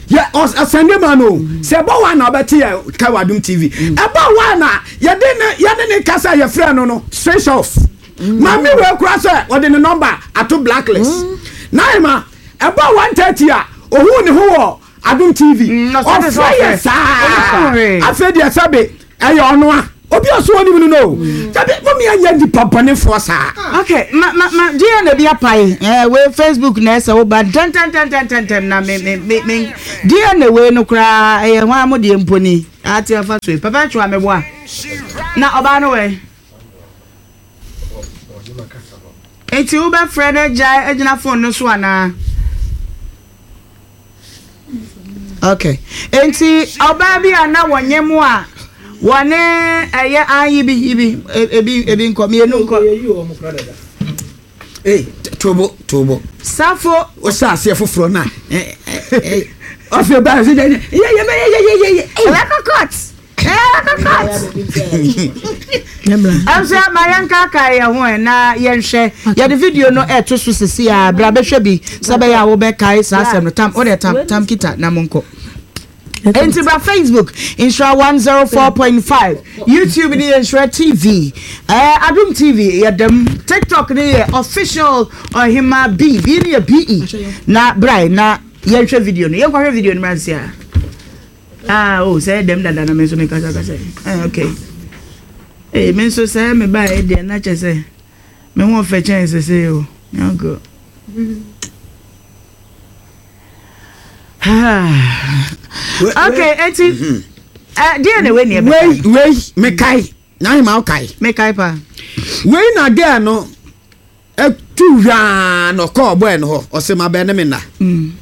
C: Yɛ ɔsɛnde maa no sɛ ɛbɔ wa na ɔbɛte yɛ ka wɔ Adum TV. Mm. Ɛbɔ wa na yɛde ne yɛne ne kasa yɛfrɛ no no switch off. Mm. Maame wei kura sɛ ɔde ne number ato blacklist. Mm. Na ɛma Ɛbɔɔ 1:30 a, ohuu ne ho wɔ Adom TV. Ɔfrɛ yɛn saa. Afei deɛ sɛbe. Ɛyɛ ɔno a obi a ɔso ɔnim no no. Dabi mo mi anyɛ nipa bɔnefoɔ saa.
A: Okay, ma ma ma DNA bi apae. Eh, wei Facebook na ɛsɛ wo ba ntɛntɛntɛntɛntɛm na me me me me DNA wei no koraa ɛyɛ hwan mo deɛ mpo ni. Ate afa so yi. Papa atwa me boa. Na ɔbaa no wɛ. Enti wobɛfrɛ no agyae agyina phone no so anaa? Okay. Enti ɔbaa bi a na wɔnyɛ mu a wɔne ɛyɛ an yibi yibi ebi ebi nkɔ mmienu nkɔ.
C: Ee tobo tobo.
A: Safo.
C: Ɔhyɛ aseɛ foforɔ na ɔfɛ baa sɛ yɛ yɛ yɛ yɛ yɛ yɛ.
A: Ɛbɛkɔ court. Ɛnso ma yɛnkaakae yɛn ho ɛ na yɛnhwɛ yɛde video no ɛto so sisi a bra bɛhwɛ bi sɛ bɛyɛ a wobɛkae saa asɛm no tam wode tam tam kita na monkɔ Enti bra Facebook Nhyira 104.5 YouTube ne yɛ Nhyira TV eh, Adum TV yɛ dɛm TikTok ne yɛ official Ɔhema B B ne yɛ BE na bra na yɛnhwɛ video no yɛnkɔhwɛ video no mra nsia. Ah, oh, sɛ dɛm dada na me nso me kasa kasa. Eh, okay. Eh, me nso sɛ me ba e deɛ na kyɛ sɛ me ho ɔfɛ kyɛn sese o. Yanko. Okay, eti. Mm-hmm. Eh, deɛ na wei ni ɛbɛka.
C: Wei, wei, me kai. Na ahema wo kai.
A: Me kai pa.
C: Wei na girl no tu hwaa na ɔkɔɔ bɔɛ no hɔ ɔsɛ ma bɛn ne me nna mm.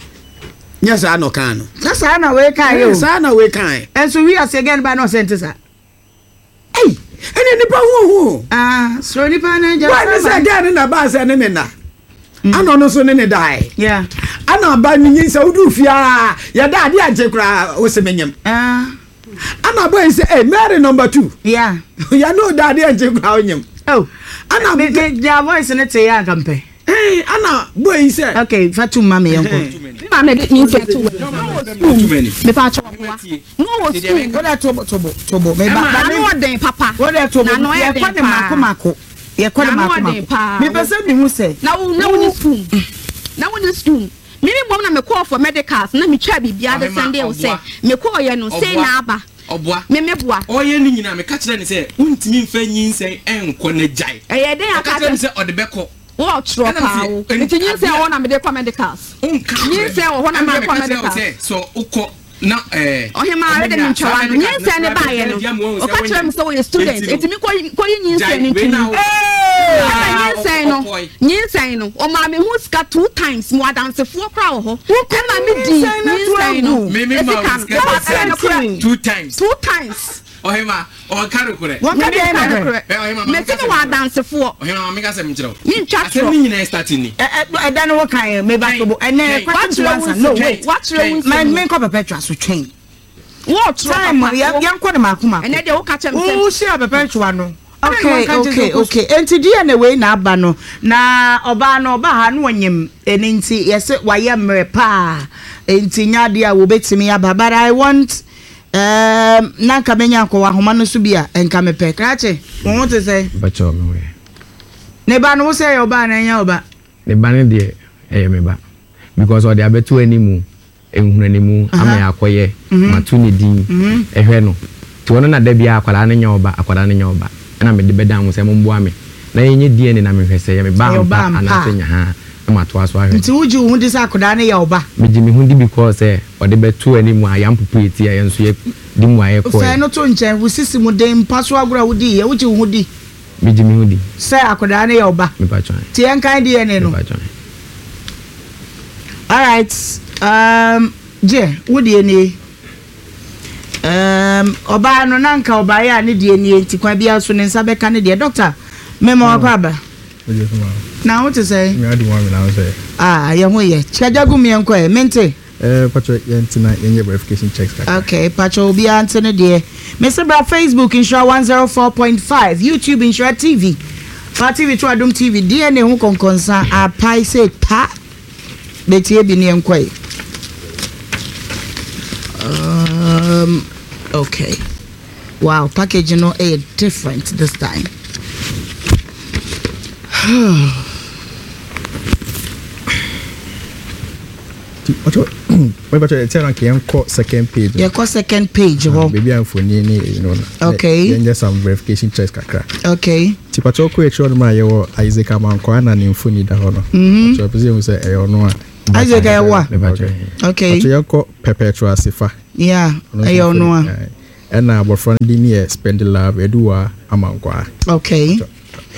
C: nyɛ saa na ɔkaa no
A: na saa na wei kaa yɛ o
C: saa na wei kaa yɛ
A: ɛnso wi ase gɛn ba na ɔsɛ nte saa
C: ɛyi ɛne nipa ho ho
A: ah soro nipa na gya
C: bɔɛ ne sɛ gɛn ne na baa sɛ ne me nna mm. ana ɔno nso ne ne dae ana aba ne nyin sɛ wodu fie a yɛda ade agye koraa wo se menyem
A: ah.
C: Ana boy sɛ eh Mary number 2.
A: Yeah.
C: Ya no da ade nche kura onyem.
A: Oh.
C: Ana
A: me me their voice ne te ya nka mpɛ.
C: Eh ana boy sɛ.
A: Okay, fa tum ma me yɛnkɔ.
E: Me ma me de me nsa to wɔ school. Me pa cho wa. No wɔ school.
A: Wo da to to bo to bo. Me ba
E: ba no ɔden papa.
A: Wo da to bo.
E: Na no
A: yɛ kɔ ne mako mako. Yɛ kɔ ne mako mako. Me pɛ sɛ me hu sɛ.
E: Na wo na wo ni school. Na wo ni school. Me me mmom na me kɔɔ for medicals na me twaa biribiara de sɛndee wo sɛ me kɔɔ yɛ no sei na aba me me boa.
F: Ɔyɛ ne nyinaa me ka kyerɛ no sɛ wontumi nfa nyinsɛn nkɔ na gyae.
E: Ɛyɛ dɛn
F: ɔka kyerɛ me sɛ ɔde bɛkɔ.
E: Wo ɔtorɔ paa wo nti nyinsɛn wɔ hɔ na mede kɔ medicals nyinsɛn wɔ hɔ na mede kɔ medicals.
F: Ɛna me ka kyerɛ wo sɛ sɛ wokɔ na ɛɛ.
E: Ɔhemaa wei de me ntwa w'ano. Nyinsɛn no baeɛ no, ɔka kyerɛɛ me sɛ ɔyɛ student, enti me kɔyi nyinsɛn no nto mu. Ɛna nyinsɛn no, nyinsɛn no, ɔmaa me ho sika two times, mewɔ adansefoɔ koraa wɔ hɔ. Ɛma me dii nyinsɛn no sika no. Ɛyɛ nokorɛ.
F: Two times.
E: Two times.
F: Ɔhema, ɔnka nokorɛ.
A: Wɔnka deɛ ɛyɛ nokorɛ.
F: Ɔhema, ma
E: Mese mewɔ adansefoɔ.
F: Ɔhema, ma menka asɛm nkyerɛ wo.
E: Mentwa torɔ.
F: Asɛm no nyinaa start ni.
A: Ɛda no wo kan ɛ, meba tobo. Ɛnɛ question to answer. No, wait.
E: Wakyerɛ wo nsɛm.
A: Ma menkɔ Perpetua so, twɛn.
E: Wɔɔtorɔ papa.
A: Time, yɛnkɔ no maako maako.
E: Ɛnɛ deɛ woka kyerɛ me sɛ.
A: Wo hyia Perpetua no. Okay, okay, okay. Enti deɛ na wei na aba no. Na ɔbaa no ɔba ha no ɔnyim. Ɛno nti yɛse wayɛ mmerɛ paa. Enti nyɛ adeɛ a wɔbɛtumi aba. But I want Ɛɛm, na nka menya nkɔ w'ahoma no so bi a, nka mepɛ. Krakye, wo ho te sɛn?
G: Mpakyɛw, me ho yɛ.
A: Ne ba no, wo sɛ ɛyɛ ɔba anaa ɛnyɛ ɔba?
G: Ne ba no deɛ, ɛyɛ me ba. Because ɔde abɛto animu, nhunanimu ama yɛakɔyɛ, mato ne din, hwɛ no. Nti ɔno na da biara akwadaa no nyɛ ɔba, akwadaa no nyɛ ɔba. Ɛna mede bɛdan mo sɛ momboa me na yɛnyɛ DNA na mehwɛ sɛ ɛyɛ me ba
A: Ɛyɛ
G: ampa
A: ɔba ampa
G: anaasɛ
A: a.
G: nyahaa na matoa so ahwɛ no.
A: Nti wogye wo ho di sɛ akwadaa no yɛ wo ba?
G: Megye me ho di because sɛ ɔde bɛto anim a yɛampopo yɛ ti a yɛn nso yɛ de mmuaeɛ
A: Fa
G: kɔeɛ.
A: ɛno to nkyɛn, wo sisi mu den, mpa so agorɔ a wodiiɛ, wogye wo ho di?
G: Megye me ho di.
A: Sɛ akwadaa no yɛ wo ba?
G: Mepakyɛ ae.
A: Nti yɛnkan DNA no.
G: Mepakyɛ ae.
A: Alright, um, gye, wo deɛ nie. Um, ɔbaa no na nka ɔbaeɛ a ne deɛ nie nti kwan biara so ne nsa bɛka ne deɛ. Doctor, mema wakɔ aba. Na wo te sɛ? Ah, yɛ ho yɛ. Kyagya gu meɛ nkɔ ɛ, mente.
H: Eh, patro, yɛnte na yɛnyɛ verification checks kakra.
A: Okay, patro, obiara nte ne deɛ. Mese bra Facebook Nhyira 104.5, YouTube Nhyira TV. Fa TV to Adom TV, DNA ho kɔnkɔnsa apae sɛ pa. Betie bi ne yɛnkɔ ɛ. Um, okay. Wow, package no ɛyɛ different this time.
H: Mepatwa ɛkyɛ no nka yɛnkɔ second page no.
A: Yɛkɔ second page hɔ.
H: Baabi a mfoni ne eyi no no.
A: Okay.
H: Yɛnyɛ some verification checks kakra.
A: Okay.
H: Nti patwa wokɔ akyire hɔ nom a yɛwɔ Isaac Amankwaa na ne mfoni da hɔ no.
A: Mhm.
H: Patwa pɛ sɛ yɛhu sɛ ɛyɛ ɔno a.
A: Isaac ɛyɛ wo a?
H: Okay.
A: Okay.
H: Patwa yɛnkɔ Perpetua Sefa.
A: Yeah, ɛyɛ ɔno a.
H: Ɛna abɔfra no din yɛ Spendilove Aduwa Amankwaa.
A: Okay.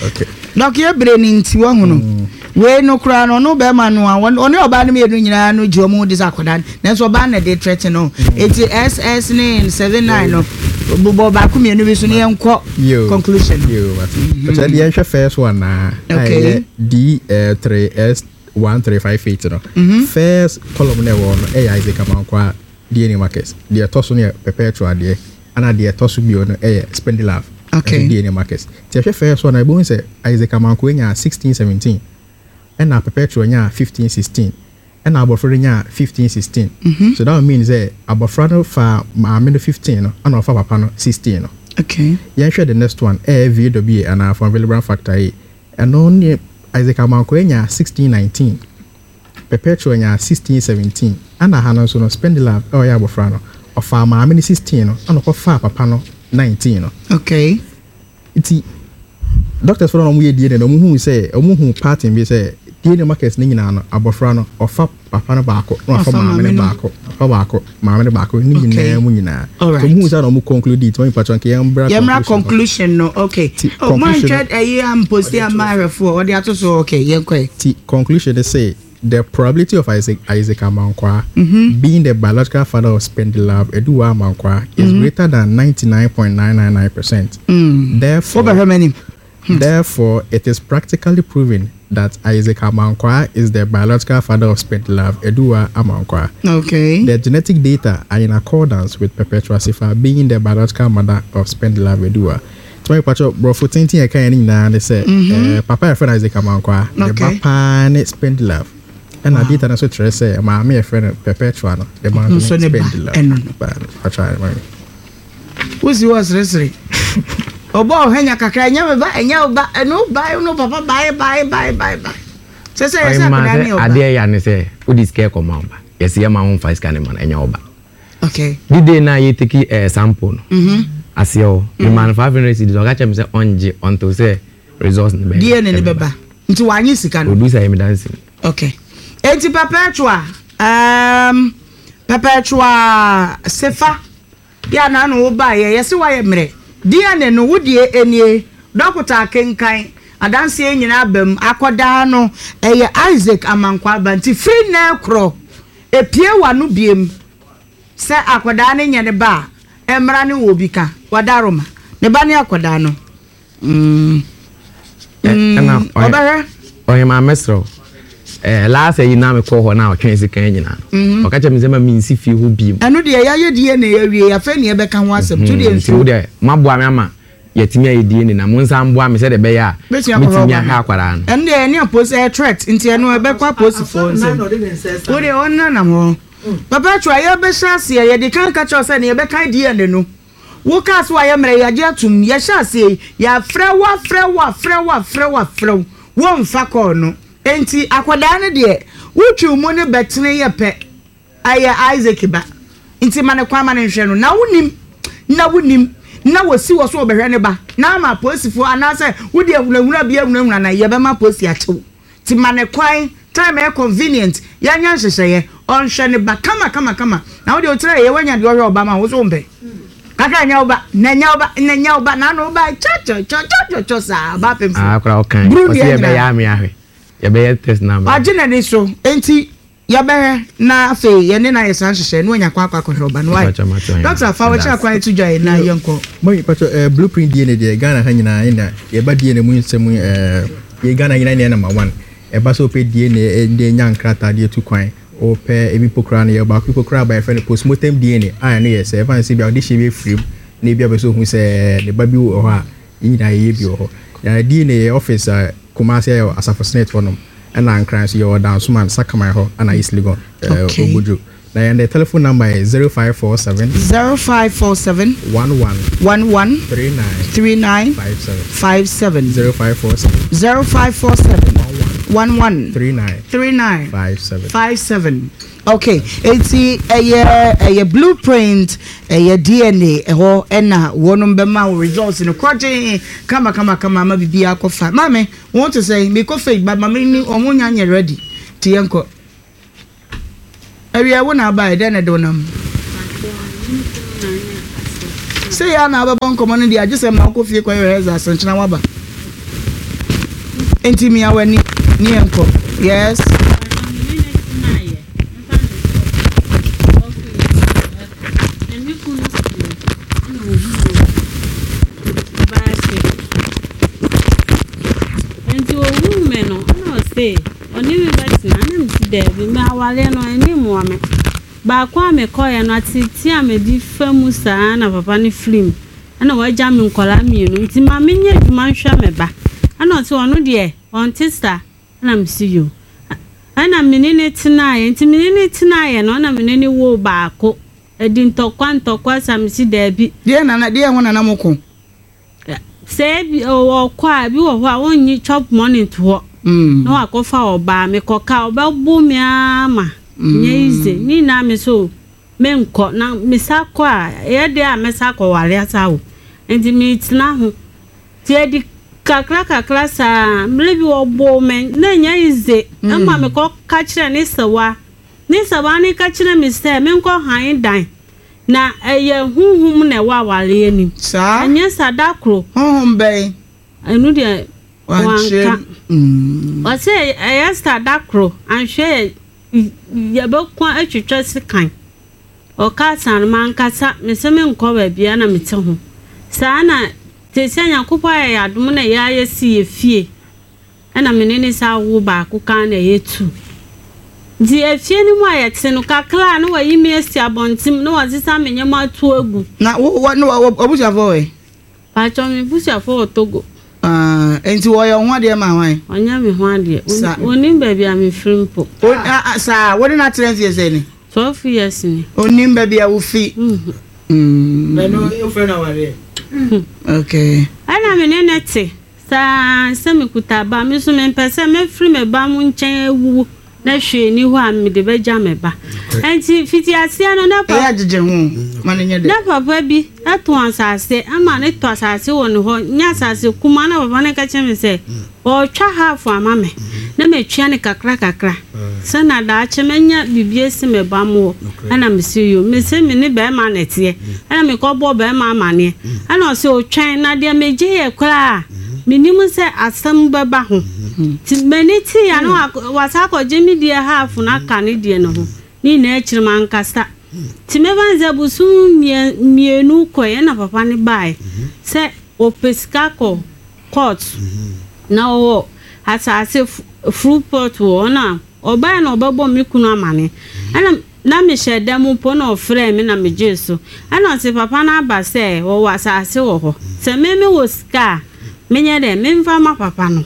H: Okay.
A: Dɔk yɛ bere no nti wahu no. Mm. Wei no koraa no ɔno bɛrima no a ɔne ɔbaa no mmienu nyinaa no gye wɔn di sɛ akwadaa no nanso ɔbaa na de trɛte no. Mm. Eti SS ne 79 no bobɔ baako mmienu bi so ne yɛn kɔ conclusion.
H: Yoo mate. Mm-hmm. Ɔkyerɛ deɛ yɛnhwɛ first one na.
A: Okay.
H: D 3 S 1358 no. Mm-hmm. First column na ɛwɔ no ɛyɛ Isaac Amankwaa. DNA markers. Deɛ ɛtɔ so no yɛ perpetual deɛ, ɛna deɛ ɛtɔ so bio no yɛ spindle
A: okay.
H: nso DNA markers. Nti ɛhwɛ first one a, yɛbɛhu sɛ Isaac Amankoe nyaa 1617, ɛna perpetual nyaa 1516, ɛna abɔfra no nyaa 1516. Mm -hmm. So that would mean sɛ abɔfra no faa maame no 15 no, ɛna ɔfa papa no 16 no.
A: Okay.
H: Yɛnhwɛ the next one, ɛyɛ VWA anaa von Willebrand factor yi. Ɛno ne Isaac Amankoe nyaa 1619. Perpetua nyaa 16 17 ɛna ha no nso no Spendilove a ɔyɛ abɔfra no ɔfaa maame no 16 no ɛna ɔkɔfaa papa no 19 no.
A: Okay.
H: Nti doctors fo no na wɔyɛ DNA no wɔn huu sɛ wɔn huu pattern bi sɛ DNA markers no nyinaa no abɔfra no ɔfa papa no baako na wafa maame no baako ɔfa baako maame no baako ne nyinaa mu nyinaa.
A: Alright.
H: So wɔn huu sɛ na wɔn conclude nti wɔn mpatwa nka yɛn mbra
A: conclusion. Yɛn mbra conclusion no okay.
H: Ti
A: oh, conclusion. Oh, mo ɛyi amposti ama ahwɛfoɔ ɔde ato so okay yɛn kɔ yɛ.
H: Ti conclusion ne sɛ the probability of Isaac Isaac Amankwaa mm -hmm. being the biological father of Spendilove Eduwa Amankwaa is mm -hmm. greater than 99.999%.
A: Mm.
H: Therefore,
A: hmm.
H: Therefore, it is practically proven that Isaac Amankwaa is the biological father of Spendilove Eduwa Amankwaa.
A: Okay.
H: The genetic data are in accordance with Perpetua Sifa being the biological mother of Spendilove Eduwa. Tuma patro brɔfo tenten ɛka yɛn nyinaa ne sɛ mm-hmm. eh, papa yɛfrɛ no Isaac Amankwaa ne ba paa ne Spendilove ɛna data no nso kyerɛ sɛ maame yɛfrɛ no Perpetua no ne ba nso ne Spendilove. Patro
A: Wosi hɔ seresere. Ɔbɔ ɔhanya kakra, ɛnyɛ me ba, ɛnyɛ wo ba, ɛno wo ba, ɛno papa bae bae bae bae bae. Sɛ sɛ yɛsɛ akwadaa ne ɔba.
G: Adeɛ ya ne sɛ wode sika ɛkɔma wo ba. Yɛsɛ yɛma wo mfa sika ne ma no, ɛnyɛ wo ba.
A: Okay.
G: The day na yɛ take eh, sample no. Mm -hmm. Aseɛ hɔ. Mm. Mema no 500 cedis, ɔka kyerɛ me sɛ ɔngye until sɛ results ne bɛyɛ.
A: DNA ne bɛba. Nti wanye sika no.
G: Odu sɛ yɛ me dansi.
A: Okay. Enti Perpetua, um, Perpetua Sefa. Deɛ a n'ano wo baeɛ, yɛse woayɛ mmerɛ. DNA no, wo deɛ nie. Dɔkota akenkan, adanseɛ nyinaa aba mu. Akɔdaa no, ɛyɛ Isaac Amankwaa ba. Nti firi nnɛ rekorɔ, ɛpue w'ano biem sɛ akɔdaa no nyɛ ne ba a, mmara ne wɔ bi ka. Wadaroma, ne ba ne akɔdaa no. Mm.
G: Mm.
A: Ɔbɛhwɛ.
G: Ɔhema mɛsrɛ wo. Eh, last yi na mekɔ hɔ na ɔtwɛn sika nyinaa. Mm-hmm. Ɔka kyerɛ me sɛ ma mensi fie hɔ biem.
A: Ɛno deɛ yɛayɛ DNA awie afei ne yɛbɛka ho asɛm. To deɛ
G: mm-hmm.
A: nsuo.
G: Nti moaboa me ama yɛtumi ayɛ DNA na mo nsa mboa me sɛdeɛ ɛbɛyɛ a mɛtumi ahwɛ akwadaa no.
A: Ɛno deɛ ɛne apolisi ɛyɛ threat nti ɛno ɛbɛkɔ apolisifoɔ nsam. Wo deɛ ɔnenam hɔ. Papa Atwa yɛbɛhyɛ aseɛ yɛde kan ka kyerɛ sɛ ne yɛbɛkan DNA no. Wo kaa sɛ wayɛ mmerɛ yɛagye atom, yɛhyɛ aseɛ yi yɛafrɛ wo afrɛ wo afrɛ wo afrɛ wo afrɛ wo womfa kɔɔ no enti akwadaa no deɛ wotwi wo mu no bɛtene yɛ pɛ ɛyɛ Isaac ba nti ma no kwan ma no nhwɛ no na wonim na wonim na wɔsi wɔ so wɔbɛhwɛ ne ba na ama apolisifoɔ anaasɛ wode ahunahuna bi ahunahuna na yɛbɛma apolisi akye wo Nti ma no kwan, time ɛyɛ convenient, yɛnyɛ nhyehyɛeɛ, ɔnhwɛ ne ba kama kama kama, na wo deɛ wo tiri ayɛ wanya deɛ ɔhwɛ ɔba ma wo so wompɛ? Kakra nyɛ wo ba, na nyɛ wo ba, na nyɛ wo ba, na ano wo ba kyɔkyɔkyɔkyɔkyɔ saa, ɔba apemfo.
G: Ah, akora ɔkan,
A: Buru
G: ɔsi
A: deɛ
G: yɛbɛyɛ
A: nyinaa.
G: ame ahwɛ, yɛbɛyɛ test na ame.
A: Wagye n'ani so, nti Yɛbɛhwɛ na afei yɛne no ayɛ saa nhyehyɛe na wanya kwan akɔ akɔhwɛ ɔba no. Wai? Doctor, fa w'akyiri akwan to dwa yi na yɛnkɔ.
H: Mami pacho eh, blueprint DNA deɛ Ghana ha nyinaa ɛna yɛba DNA mu nsɛm eh, yɛ Ghana nyinaa na yɛ number one. Ɛba sɛ wopɛ DNA eh, de nya nkrataa de atu kwan, wopɛ ebi mpo koraa no yɛ baako mpo koraa ba yɛfrɛ no postmortem DNA a ɛno yɛ sɛ ɛfa ne sɛ bi a wode hyɛ bi afiri mu na ebi a pɛ sɛ ohu sɛ ne ba bi wɔ hɔ a Yɛn nyinaa yɛyɛ bi wɔ hɔ. Yɛn DNA yɛ office a Kumasi yɛwɔ Asafo Senate hɔ nom, ɛna Nkran nso yɛwɔ Dansoman, Sakaman hɔ, ɛna East Legon,
A: Okay.
H: Obojo. Na yɛn de telephone number yɛ 0547.
A: 0547.
H: 11.
A: 11.
H: 39.
A: 39.
H: 57.
A: 57.
H: 0547.
A: 0547.
H: 11.
A: 11.
H: 39.
A: 39.
H: 57.
A: 57. Okay, eti ɛyɛ ɛyɛ blueprint ɛyɛ DNA ɛhɔ ɛna wɔnom bɛma wo results no kɔgye kama kama kama ama biribi akɔfa. Maame, wɔn te sɛ mekɔ fake but maame ni wɔn nya nyɛ ready. Ti yɛn kɔ. Awia wo na abae dɛn na ɛde wo nam? Sei ara na wobɛbɔ nkɔmmɔ no deɛ agye sɛ ma wokɔ fie kɔyɛ rehearsal asenkyena woaba. Nti mia w'ani ne yɛnkɔ. Yes.
I: Nti ohuu me no, ɛna ɔse Ɔne me bɛtena? Na mese, Daabi, me awareɛ no, ani mmoa me. Baako a mekɔeɛ no, ateetee a mede fa mu saa ara na papa no firii mu. Ɛna wagya me nkwadaa mmienu, nti ma menyɛ adwuma nhwɛ me ba. Ɛna ɔse ɔno deɛ, ɔnte saa. Ɛna mese, Yoo. Ɛna me ne no tenaeɛ. Nti me ne no tenaeɛ no, ɛna me ne no woo baako. Ɛdi ntɔkwa ntɔkwa saa, mese, Daabi.
A: Deɛ na na, deɛ ho na na moko?
I: Sɛ ebi ɔkɔ a, ebi wɔ hɔ a ɔnnye chop money nto hɔ na wakɔfa ɔbaa. Mekɔka a, ɔbɛbo me ara ma nyɛ easy. Ne nyinaa me so menkɔ na mesa kɔ a, ɛyɛ dɛn a mɛsa akɔware asa awo. Nti metena ho. Nti ɛdi kakra kakra saa, mmerɛ bi ɔboo me na ɛnyɛ easy ɛma mekɔka kyerɛɛ ne sewaa. Ne sewaa no ka kyerɛɛ me sɛ menkɔ han dan. Na ɛyɛ honhom na ɛwɔ awareɛ no mu.
A: Saa?
I: Ɛnyɛ saa, da koro.
A: Honhom bɛn?
I: Ɛno deɛ wanka. Ɔsɛ ɛyɛ saa da koro, anhwɛ yɛ yɛbɛko atwitwa sekan. Ɔkaa saa no, mankasa, mese menkɔ baabiara na mete ho. Saa na te sɛ Nyankopɔn ayɛ yɛn adom na yɛayɛ si yɛ fie. Ɛna me ne no san woo baako kaa na ɛyɛ tu. Nti efie no mu a yɛte no, kakra a na wayi me asi abɔntem na wasesa me nneɛma ato agu.
A: Na wo wo ne w'abusuafoɔ wɔ he?
I: Paatwɔ, me busuafoɔ wɔ Togo.
A: Ah, nti wɔyɛ wo ho adeɛ ma hwan?
I: Ɔnyɛ me ho adeɛ.
A: Sa.
I: Ɔnnim baabi a mefiri mpo.
A: O, ah, ah, saa, wo ne no atena mfie sɛn ni?
I: 12 years ni.
A: Ɔnnim baabi a wofi. Mm.
F: Na ɛno wofrɛ no awareɛ?
A: Okay.
I: Ɛna me ne no te. Saa ara sɛ mekuta ba, me nso mempɛ sɛ mɛfiri me ba mo nkyɛn awuwu na hwee nni hɔ a mede bɛgya me ba. Enti fiti aseɛ no, na
A: Ɛyɛ agyegye ho ma no nyɛ dɛ.
I: Na papa bi tɔn asase ama no tɔ asase wɔ ne hɔ, nyɛ asase kumaa, na papa no ka kyerɛ me sɛ ɔretwa half ama me na matua no kakra kakra sɛ na daakye mɛnya biribi asi me ba mo hɔ. Ɛna mese yoo, mese me ne barima na ɛteɛ. Ɛna mekɔbɔɔ barima amaneɛ. Ɛna ɔse ɔtwɛn na deɛ megyeeɛ koraa mennim sɛ asɛm bɛba ho. Nti m'ani teeɛ a na wasan akɔgye me deɛ half no aka ne deɛ no ho. Ne nyinaa akyiri mankasa. Nti mɛfa no sɛ bosom mmienu kɔeɛ ɛna papa no baeɛ sɛ ɔpɛ sika kɔ court na ɔwɔ asase full plot wɔ hɔ na ɔbaeɛ na ɔbɛbɔ me kunu amane ɛna na mehyɛ da mu mpo na ɔfrɛɛ me na megyee so ɛna ɔse papa no aba sɛ wɔwɔ asase wɔ hɔ sɛ me mewɔ sika a menyɛ dɛn memfa ma papa no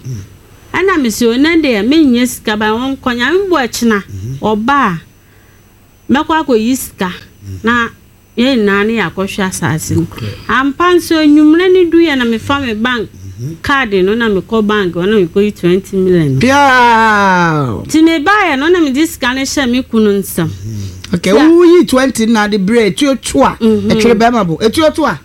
I: ɛna mese o ɛnɛ deɛ mennya sika ba ɔnkɔ Nyame boa kyena ɔba a mɛkɔ akɔyi sika na Yɛn nyinaa ne yɛakɔhwɛ asase no. Ampa nso, anwummerɛ no duiɛ na mefa me bank card no na mekɔ bank hɔ na mekɔyi 20 million no.
A: Piaw!
I: Nti mebaeɛ no na mede sika no hyɛɛ me kunu nsam.
A: Okay, woyi 20 na de brɛ etuo to a, ɛtwere bɛrima bo. Etuo to a.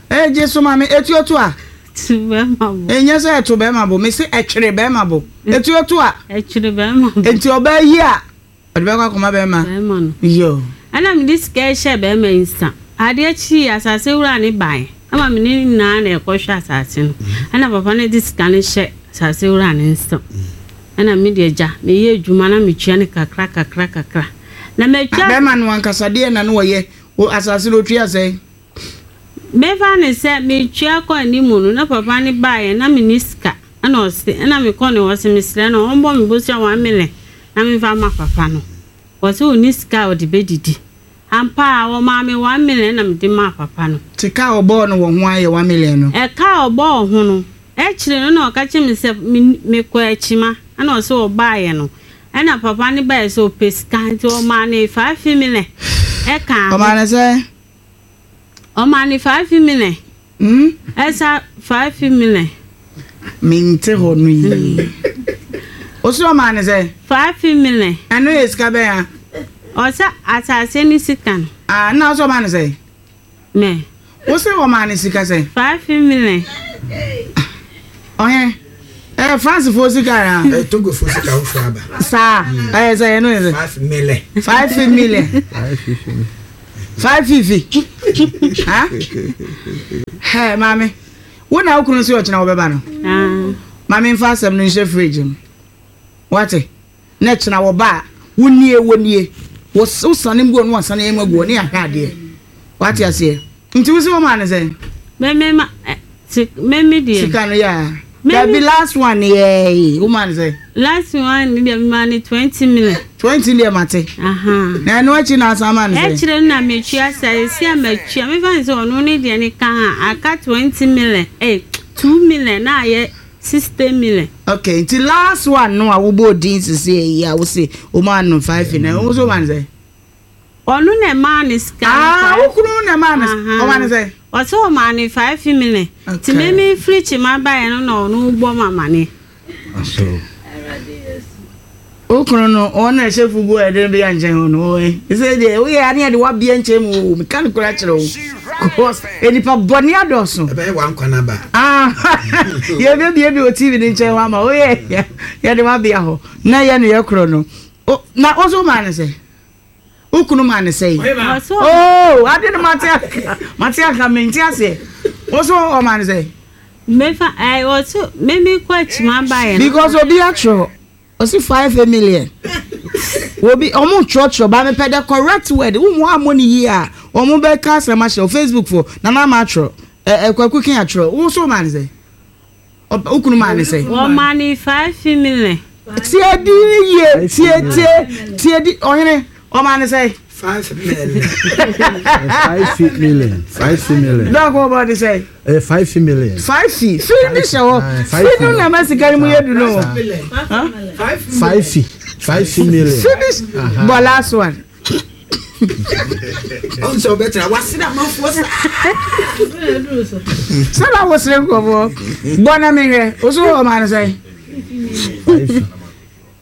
A: Egye so ma me, etuo to a.
I: To bɛrima bo.
A: Ɛnyɛ sɛ ɛto bɛrima bo, mese ɛtwere bɛrima bo. Etuo to a.
I: Ɛtwere bɛrima bo.
A: Nti ɔbaa yi a. Ɔde bɛkɔ akɔma bɛrima.
I: Bɛrima no.
A: Yo.
I: Ɛna mede sika yi hyɛɛ bɛrima yi nsa. Adeɛ kyeeɛ, asase wura no baeɛ. Ɛma me ne no nyinaa na yɛkɔhwɛ asase no. Ɛna papa no de sika no hyɛ asase wura no nsa. Ɛna me deɛ gya, meyɛ adwuma na metua no kakra kakra kakra. Na matua.
A: Bɛrima no ankasa deɛ na na ɔyɛ? Asase no ɔtua sɛn?
I: Mefa no sɛ metua kɔ anim no, na papa no baeɛ na menni sika. Ɛna ɔse, ɛna mekɔ ne hɔ se mesrɛ no ɔmbɔ me bosea one million na memfa mma papa no. Ɔse ɔnni sika a ɔde bɛdidi. Ampa ara ɔmaa me one million ɛna mede maa papa no.
A: Nti ka a ɔbɔɔ no wɔ ho ara yɛ one million no?
I: Ɛka a ɔbɔɔ ho no, akyire no na ɔka kyerɛ me sɛ mekɔ akyima ɛna ɔse ɔbaeɛ no ɛna papa no baeɛ sɛ ɔpɛ sika nti ɔmaa no five million ɛkaa ho.
A: Ɔmaa no sɛn?
I: Ɔmaa no five million.
A: Hmm?
I: Ɛsa five million.
A: Mente hɔ no yie. Ɔsi ɔmaa no sɛn?
I: Five million.
A: Ɛno yɛ sika bɛn a?
I: Ɔsɛ asase ne sika no.
A: Ah, na ɔsɛ ɔmaa no sɛn?
I: Me.
A: Wo se wɔmaa no sika sɛn?
I: 5 million.
A: Ɔhene, ɛyɛ France foɔ sika anaa?
J: Ɛyɛ Togo foɔ sika foforɔ aba.
A: Saa, ɛyɛ sɛ ɛno yɛ sɛ?
J: 5 million.
A: 5 million. 5 fifi. Ha? Hɛ, maame, wo na wo kunu se ɔkyena wɔbɛba no?
I: Ah.
A: Maame mfa asɛm no nhyɛ fridge mu. Wate? Na kyena wɔba a, wo nie, wo nie. Wo sane mu gu hɔ na wasane amu agu hɔ ne yɛahwɛ adeɛ. Wate aseɛ? Nti wo se wɔmaa no sɛn?
I: Me me ma eh, si, me me deɛ.
A: Sika no yɛ a. Dabi last one yɛɛ wo maa no sɛn?
I: Last one deɛ me maa no 20 million.
A: 20 deɛ mate. Na ɛno akyi na asan maa no sɛn?
I: Ɛkyerɛ no na metua sa esi a matua mefa ne sɛ ɔno ne deɛ ne ka ha aka 20 million eh 2 million na ayɛ 60 million.
A: Okay, nti last one no a wobɔɔ din sisi yi a wose wo maa no 5 na wo nso maa no sɛn?
I: Ɔno na ɛmaa no sika no.
A: Ah, wo kunu na ɛmaa no, ɔmaa no sɛn?
I: Ɔsɛ ɔmaa no 5 million. Nti me me firi kyima baeɛ no na ɔno bɔ me amaneɛ.
A: Wo kunu no, wɔn na ɛhyɛ fugu a ɛde no bɛyɛ nkyɛn hɔ no, wɔn sɛ deɛ woyɛ ane yɛde wabea nkyɛn mu o, meka no kora kyerɛ wo. Because nipa bɔne adɔɔso.
J: Ɛbɛyɛ wankwa no aba.
A: Ah, yɛbɛbie bi wɔ TV no nkyɛn hɔ ama woyɛ yɛde wabea hɔ na yɛ no yɛ korɔ no. Na wo so maa no sɛ? Wo kunu maa no sɛ? Oh, ade no mate aka, mate aka, mente aseɛ. Wo so ɔmaa no sɛ?
I: Mefa, ɛɛ, ɔso, me me kɔ akyima baeɛ no.
A: Because obi atwerɛ. Ɔsi 5 million. Obi ɔmo twerɛtwerɛ ba mepɛ the correct word. Wo mu ammɔ ne yie a ɔmo bɛka asɛm ahyɛ wo Facebook fo. Nana ama atwerɛ. Ɛ ɛ Kwaku King atwerɛ. Wo so maa ne sɛ? Wo kunu maa ne sɛ?
I: Wɔmaa ne 5 million.
A: Tie di ne yie. Tie tie tie di ɔhene ɔmaa ne sɛ?
J: 5 million.
K: 5 million. 5 million.
A: Dɔk ɔbɔ ne sɛ?
K: Ɛyɛ 5 million.
A: Five fi fi ni hyɛ hɔ. Fi no na ɛma sika no mu yɛ du no.
K: Five fi 5 million.
A: Fi ni bɔ last one.
J: Ɔn sɛ ɔbɛtena wasere amanfoɔ saa.
A: Sɛ na wosere nkurɔfoɔ bɔ na mehwɛ wo so ɔma no sɛn?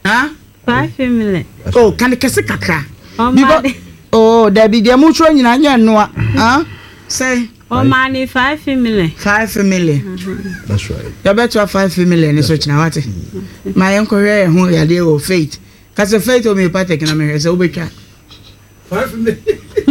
A: Huh?
I: 5 million.
A: Oh, kan kɛse kakra. Because oh, dabi deɛ mo twerɛ nyinaa nyɛ nnoa. Huh? Sɛ.
I: Ɔmaa ne 5 million.
A: 5 million.
K: That's right.
A: Yɛbɛtoa 5 million ne so kyena wate. Ma yɛnkɔhwɛ yɛn ho yadeɛ wɔ Faith. Kasɛ Faith Homeopathic na mehwɛ sɛ wobɛtwa.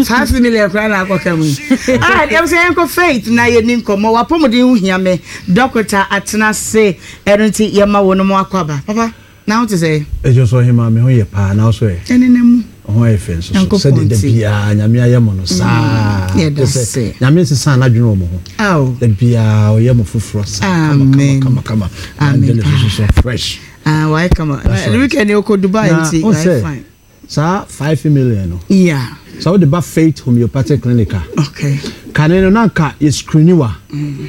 A: 5 million koraa na akɔka mu yi. Ah, yɛm sɛ yɛnkɔ Faith na yɛni nkɔmmɔ. Wapɔmuden ho hia me. Dɔkota atena ase. Ɛno nti yɛma wo no mo akɔ aba. Papa, na wo te sɛ?
K: Ɛdwo so ɔhema me ho yɛ paa na wo so ɛ?
A: Ɛne na mu.
K: Ho ayɛ fɛ nso so. Sɛdeɛ da biara Nyame ayɛ mo no saa.
A: Yɛda ase.
K: Nyame nsesa n'adwene wɔ mo ho.
A: Aw.
K: Da biara ɔyɛ mo foforɔ saa.
A: Amen.
K: Kama kama kama.
A: Amen.
K: Angel nso so fresh.
A: Ah, wayɛ kama. Weekend yɛ Dubai nti wayɛ fine.
K: Saa 5 million no.
A: Yeah.
K: Sɛ wode ba Faith Homeopathic Clinic a.
A: Okay.
K: Kane no na nka yɛ screen wa.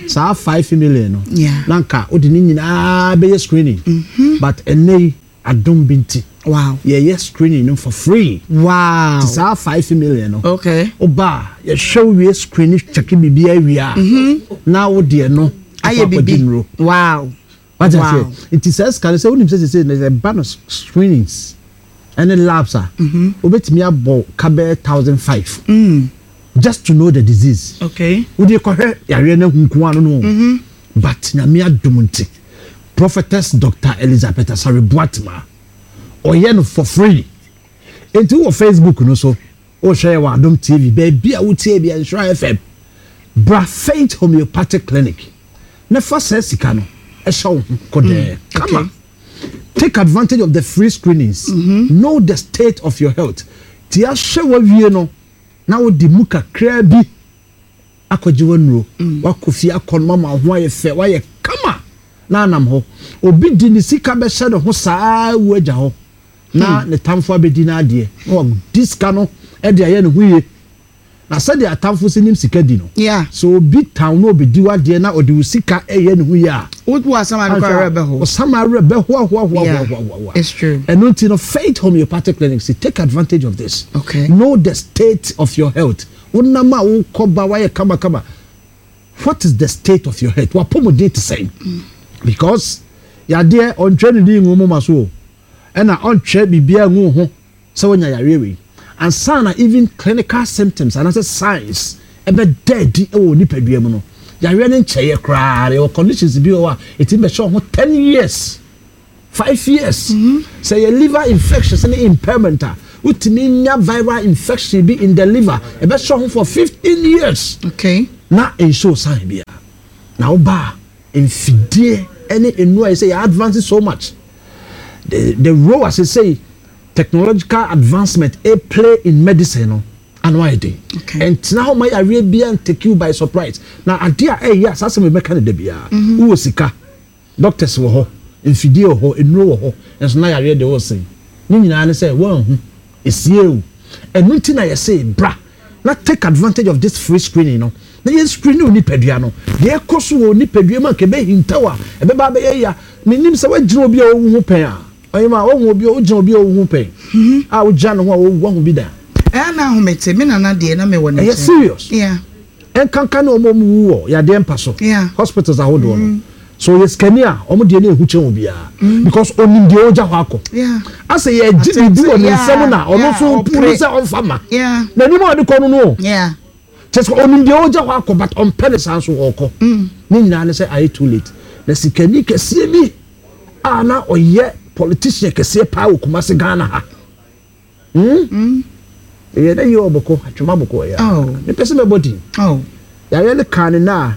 K: Saa 5 million no.
A: Yeah.
K: Na nka wode ne nyinaa bɛyɛ screening. But ɛnɛ yi adom bi nti.
A: Wow.
K: Yɛyɛ screening no for free.
A: Wow.
K: Ti saa 5 million no.
A: Okay.
K: Woba a yɛhwɛ wo wie screen check biribi awie a. Na wo deɛ no.
A: Ayɛ bibi. Wow.
K: Wate aseɛ? Nti saa sika no sɛ wonim sɛ sese no ɛba no screenings ɛne labs a, wobɛtumi abɔ ka bɛyɛ 1,500 just to know the disease.
A: Okay.
K: Wode kɔhwɛ yareɛ no ahu nko ano no. But Nyame adom nti, Prophetess Doctor Elizabeth Asare Boatema, ɔyɛ no for free. Nti wowɔ Facebook no so, wohwɛ yɛ wɔ Adom TV, baabi a wotie bia Nhyira FM, bra Faith Homeopathic Clinic na fa saa sika no hyɛ wo ho kɔdɛɛ kama. Take advantage of the free screenings. Know the state of your health. Ti ahwɛ wawie no na wode mu kakraa bi akɔgye w'anuro. Wakɔ fie akɔ no ama wo ho ayɛ fɛ, wayɛ kama na anam hɔ. Obi de ne sika bɛhyɛ ne ho saa wu agya hɔ na ne tamfo abɛdi n'adeɛ na wadi sika no de ayɛ ne ho yie. Na sɛdeɛ atamfo si nim sika di no, sɛ obi tan wo na ɔbɛdi w'adeɛ na ɔde wo sika reyɛ ne ho yie a, anhwɛ a, wo sama werɛ bɛhoahoahoahoahoahoa. Ɛno nti no, Faith Homeopathic Clinic se take advantage of this. Know the state of your health. Wonam a wokɔ ba woayɛ kamakama. What is the state of your health? W'apɔmuden te sɛn? Because yadeɛ ɔntwerɛ ne din ngu wo moma so o, ɛna ɔntwerɛ biribiara ngu wo ho. sɛ woanya yareɛ wei. Ansa na even clinical symptoms anaasɛ signs ɛbɛda adi wɔ wo nipadua mu no, yareɛ no nkyɛeɛ koraa. Yɛwɔ conditions bi wɔ hɔ a ɛtumi bɛhyɛ wo ho 10 years, 5 years. Sɛ ɛyɛ liver infections ne impairment a, wotumi nya viral infection bi in the liver, ɛbɛhyɛ wo ho for 15 years.
A: Okay.
K: Na ɛnshow sign biara. Na woba a, mfidie ne nnuro a yɛsɛ yɛ advance so much. The, the role a sesei technological advancement play in medicine no, ano ayɛ den. Ɛntena hɔ ma yareɛ biara ntake you by surprise. Na adeɛ a ɛyɛ a saa asɛm yi mɛka no da biara, mhm. wowɔ sika, doctors wɔ hɔ, mfidie wɔ hɔ, nnuro wɔ hɔ, nso na yareɛ deɛ wɔresɛn. Ne nyinaa ne sɛ woanhu, esie o. Ɛno nti na yɛse bra na take advantage of this free screening no, na yɛn screen wo nipadua no. Deɛ ɛkɔ so wɔ nipadua mu a nka ɛbɛhintaw a, ɛbɛba abɛyɛ ya. Menim sɛ woagyina obi a ɔwu ho pɛn a, Ɔhema, woahu obi a wogyina obi a owu ho pɛn? A wogyina ne ho a owu, woahu bi da?
A: Ɛyɛ a na ahomete, me nana deɛ na mewɔ ne
K: Ɛyɛ
A: nkyɛn.
K: serious.
A: Yeah.
K: Ɛnkanka ne wɔn a wɔwu wɔ yadeɛ mpa so,
A: Yeah.
K: hospitals ahodoɔ no. Sɛ ɔyɛ sikani a, wɔn deɛ no ehu kyɛn obiara. Because onim deɛ ɔregya hɔ akɔ.
A: Yeah.
K: Asɛ yɛregye biribi wɔ ne
A: Yeah,
K: nsam na ɔno
A: yeah,
K: nso
A: ɔpere.
K: hu sɛ ɔmfa ma.
A: Yeah.
K: N'anim a ɔde kɔ no no o.
A: Yeah.
K: Kyerɛ sɛ ɔnim deɛ ɔregya hɔ akɔ but ɔmpɛ ne saa nso ɔrekɔ. Ne nyinaa ne sɛ ayɛ too late. Na sikani kɛseɛ bi a na ɔyɛ politician kɛseɛ paa wɔ Kumasi Ghana ha. Hmm? Ɛyɛ dɛ yɛ ɔbɔkɔ, atwema bɔkɔ ɛyɛ.
A: Oh.
K: Mepɛ sɛ mɛbɔ din.
A: Oh.
K: Yareɛ no kaa ne na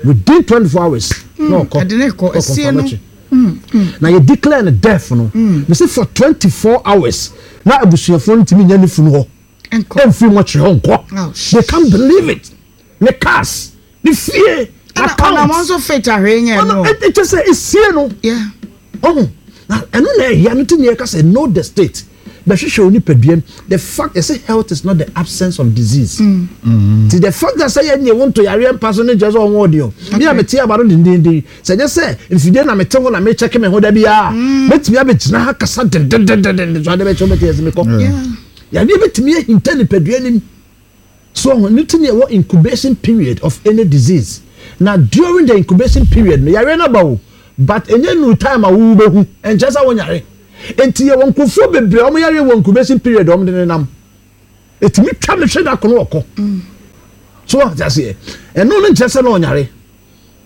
K: within 24 hours
A: hmm.
K: na ɔkɔ.
A: Ɛde ne kɔ ɛsie no.
K: Hmm, hmm. Na yɛ declare no death no. Mese for 24 hours na abusuafoɔ no ntumi nya ne funu hɔ. Ɛmfiri mɔkyerɛ hɔ nkɔ.
A: Oh,
K: They can't believe it. Ne cars ne fie
A: account. Ɛna ɔnam nso fit ahwee nyɛ no.
K: Ɔno ɛkyɛ sɛ esie no.
A: Yeah.
K: Ɔho na ɛno na ɛyɛ no ti na yɛka sɛ know the state bɛhwehwɛ onipadua mu the fact yɛsɛ health is not the absence of disease. Mm. Mm. Ti the fact that sɛ yɛ nye wo nto yareɛ mpa so ne nkyɛn sɛ ɔho ɔde o. Mi a mete aba no dendenden sɛ nyɛ sɛ mfidie na mete ho na mekyɛke me ho da biara mm. mɛtumi abɛgyina ha kasa dendendenden so ade bɛkyɛ wobɛte yɛ sɛ mekɔ. Yareɛ bɛtumi ahinta nipadua nim. So wahu? Ɛno nti na yɛwɔ incubation period of any disease. Na during the incubation period no, yareɛ no aba o, but ɛnyɛ nnuru time a wo wobɛhu, ɛnkyerɛ sɛ wonyare. Nti yɛwɔ nkurɔfoɔ bebree a wɔn yareɛ wɔ incubation period a wɔn de nenam. Ɛtumi twa no hwe da ko no ɔkɔ. So wate aseɛ? Ɛno no nkyerɛ sɛ na ɔnyare.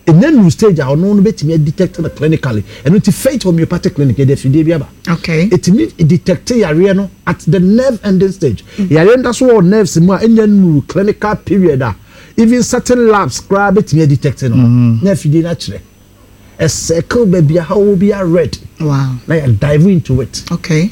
K: Ɛnya nnuru stage a ɔno no bɛtumi a detect no clinically. Ɛno nti Faith Homeopathic Clinic yɛde afidie bi aba.
A: Okay.
K: Ɛtumi detect yareɛ no at the nerve ending stage. Mm. Yareɛ no da so wɔ nerves mu a ɛnya nnuru clinical period a even certain labs koraa bɛtumi a detect no. Mm. Na afidie no akyerɛ. A circle baabi a ha wɔ bi a red.
A: Wow.
K: Na yɛ dive into it.
A: Okay.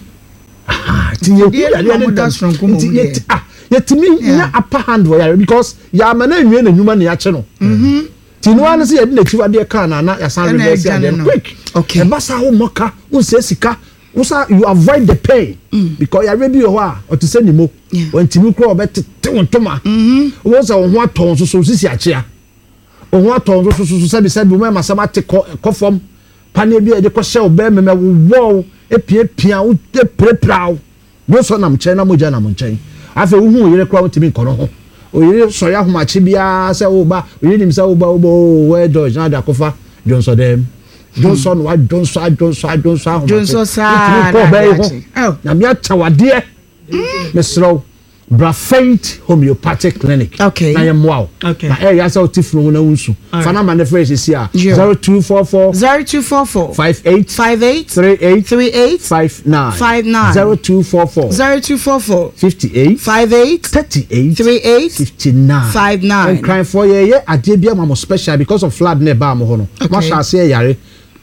K: Nti yɛhu yareɛ no ntɛm. Nti ah, yɛtumi nya upper hand wɔ yareɛ because yɛama no anwie n'adwuma na yɛakye no.
A: Mm-hmm.
K: Nti no ara ne sɛ yɛde n'akyiwadeɛ kaa no ana yɛasan reverse adeɛ no quick. Ɛba saa wommɔ ka, wonsɛe sika, wosa you avoid the pain.
A: Mm.
K: Because yareɛ bi wɔ hɔ a ɔte sɛ nimo. Wantumi koraa ɔbɛtete wo ntoma.
A: Mm-hmm.
K: Wobɛhu sɛ wo ho atɔ wo nso so sisi akyea. Wo ho atɔ wo nso so so sɛbi sɛbi wo mɛma sɛm ate kɔ kɔ fam. Paneɛ bi a yɛde kɔhyɛ wo bɛrima mu ɛwowɔ wo, epiapia wo, epirapira wo. Dwonsɔ nam nkyɛn na mogya nam nkyɛn. Afei wohu wo yere koraa wontumi nkɔ no ho. Wo yere sɔre ahomakye biara sɛ woreba, wo yere nim sɛ woreba, woreba oo, where George na ade akɔfa dwonsɔ dɛm. Dwonsɔ na wadwonsɔ adwonsɔ adwonsɔ ahomakye.
A: Dwonsɔ saa
K: Wontumi nkɔ
A: na
K: ɔbaa yi
A: ade
K: ho.
A: akye. Oh.
K: Nyame akyɛ wo adeɛ. Mesrɛ wo. Bra Faith Homeopathic Clinic
A: okay.
K: na yɛmmoa wo.
A: Okay.
K: Na ɛyɛ sɛ wote funu ho na wonsu.
A: Right.
K: Fa namba no frɛ sisi a 0244
A: 0244
K: 58
A: 58
K: 38
A: 38
K: 59
A: 59
K: 0244
A: 0244
K: 58
A: 58
K: 38
A: 38
K: 59
A: 59.
K: Nkranfoɔ yɛyɛ adeɛ bi ama mo special because of flood na ɛbaa mo hɔ no.
A: Okay.
K: Moahyɛ aseɛ yare.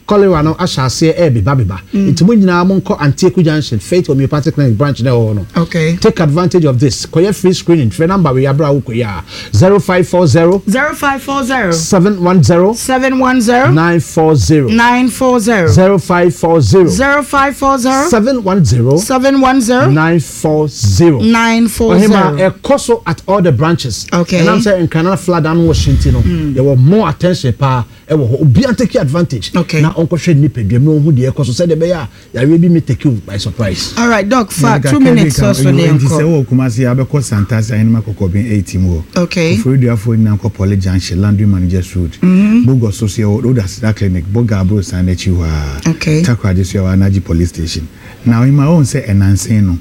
K: Cholera no ahyɛ aseɛ ɛrebebabeba. Nti mo nyinaa monkɔ Antieku Junction, Faith Homeopathic Clinic branch no a ɛwɔ hɔ no.
A: Okay.
K: Take advantage of this. Kɔyɛ free screening. Frɛ number wei aberɛ a wokɔ yi a, 0540
A: 0540
K: 710
A: 710
K: 940
A: 940
K: 0540
A: 0540
K: 710
A: 710
K: 940.
A: 940.
K: Ɔhema ɛkɔ so at all the branches.
A: Okay.
K: Ɛnam sɛ Nkrana flood ano wɔ hye nti no, yɛwɔ more attention paa. Ɛwɔ hɔ, obiara ntake advantage
A: Okay.
K: na ɔnkɔhwɛ ne nipadua mu na ɔnhu deɛ ɛrekɔ so sɛdeɛ ɛbɛyɛ a yareɛ bi may take you by surprise.
A: All right, Doc, fa
H: Yɛde
A: two
H: kakra bi
A: minutes
H: ka
A: sɔ so ne
H: Nti sɛ
A: yɛnkɔ.
H: wowɔ Kumasi a wobɛkɔ Santase Ahenema Kɔkɔben 8 mu hɔ.
A: Okay.
H: Koforidua-foɔ nyinaa nkɔ Poly Junction, Laundry Managers Road. Bogor so so yɛwɔ Road Aseda Clinic, Boga Aborosan no akyi hɔ ara.
A: Okay.
H: Takoradi so yɛwɔ Anaji Police Station. Na Ɔhema wohu sɛ ɛnansa yi no,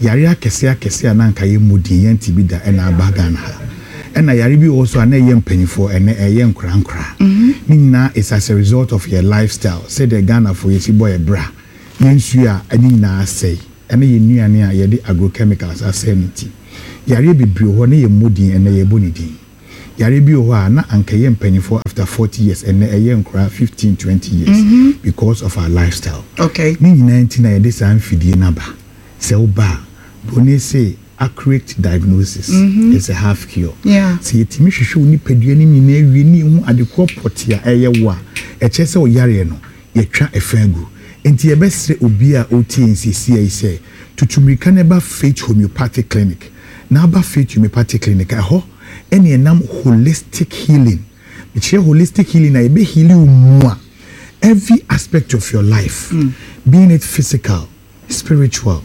L: Yare akɛseɛ akɛseɛ a na anka yɛmmɔ din, yɛnte bi da na aba Ghana ha. Ɛna yare bi wɔ hɔ nso a na ɛyɛ mpaninfoɔ, ɛnnɛ ɛyɛ nkoraa nkoraa. Ne nyinaa is as a result of yɛn lifestyle, sɛdeɛ Ghanafoɔ yɛsi bɔ yɛn bra, yɛn nsuo a ne nyinaa asɛe, ɛne yɛn nnuane a yɛde agrochemicals asɛe no nti. Yareɛ bebree wɔ hɔ na yɛmmɔ din, ɛnnɛ yɛbɔ ne din. Yareɛ bi wɔ hɔ a na anka ɛyɛ mpaninfoɔ after 40 years, ɛnnɛ ɛyɛ nkoraa 15, 20 years because of our lifestyle. Ne nyinaa nti na yɛde saa mfidie no aba. Sɛ woba a, broni se accurate diagnosis is a half cure. Sɛ yɛtumi hwehwɛ wo nipadua no nyinaa wie na yɛhu ade korɔ pɔtee a ɛyɛ wo a, ɛkyerɛ sɛ wo yareɛ no, yɛatwa ɛfa agu. Enti yɛbɛsrɛ obi a ɔretie yɛn seesei yi sɛ, tutu mmirika na ba Faith Homeopathic Clinic. Na aba Faith Homeopathic Clinic a, ɛhɔ na yɛnam holistic healing. Mekyerɛ holistic healing a, yɛbɛ heal wo mua, every aspect of your life, being it physical, spiritual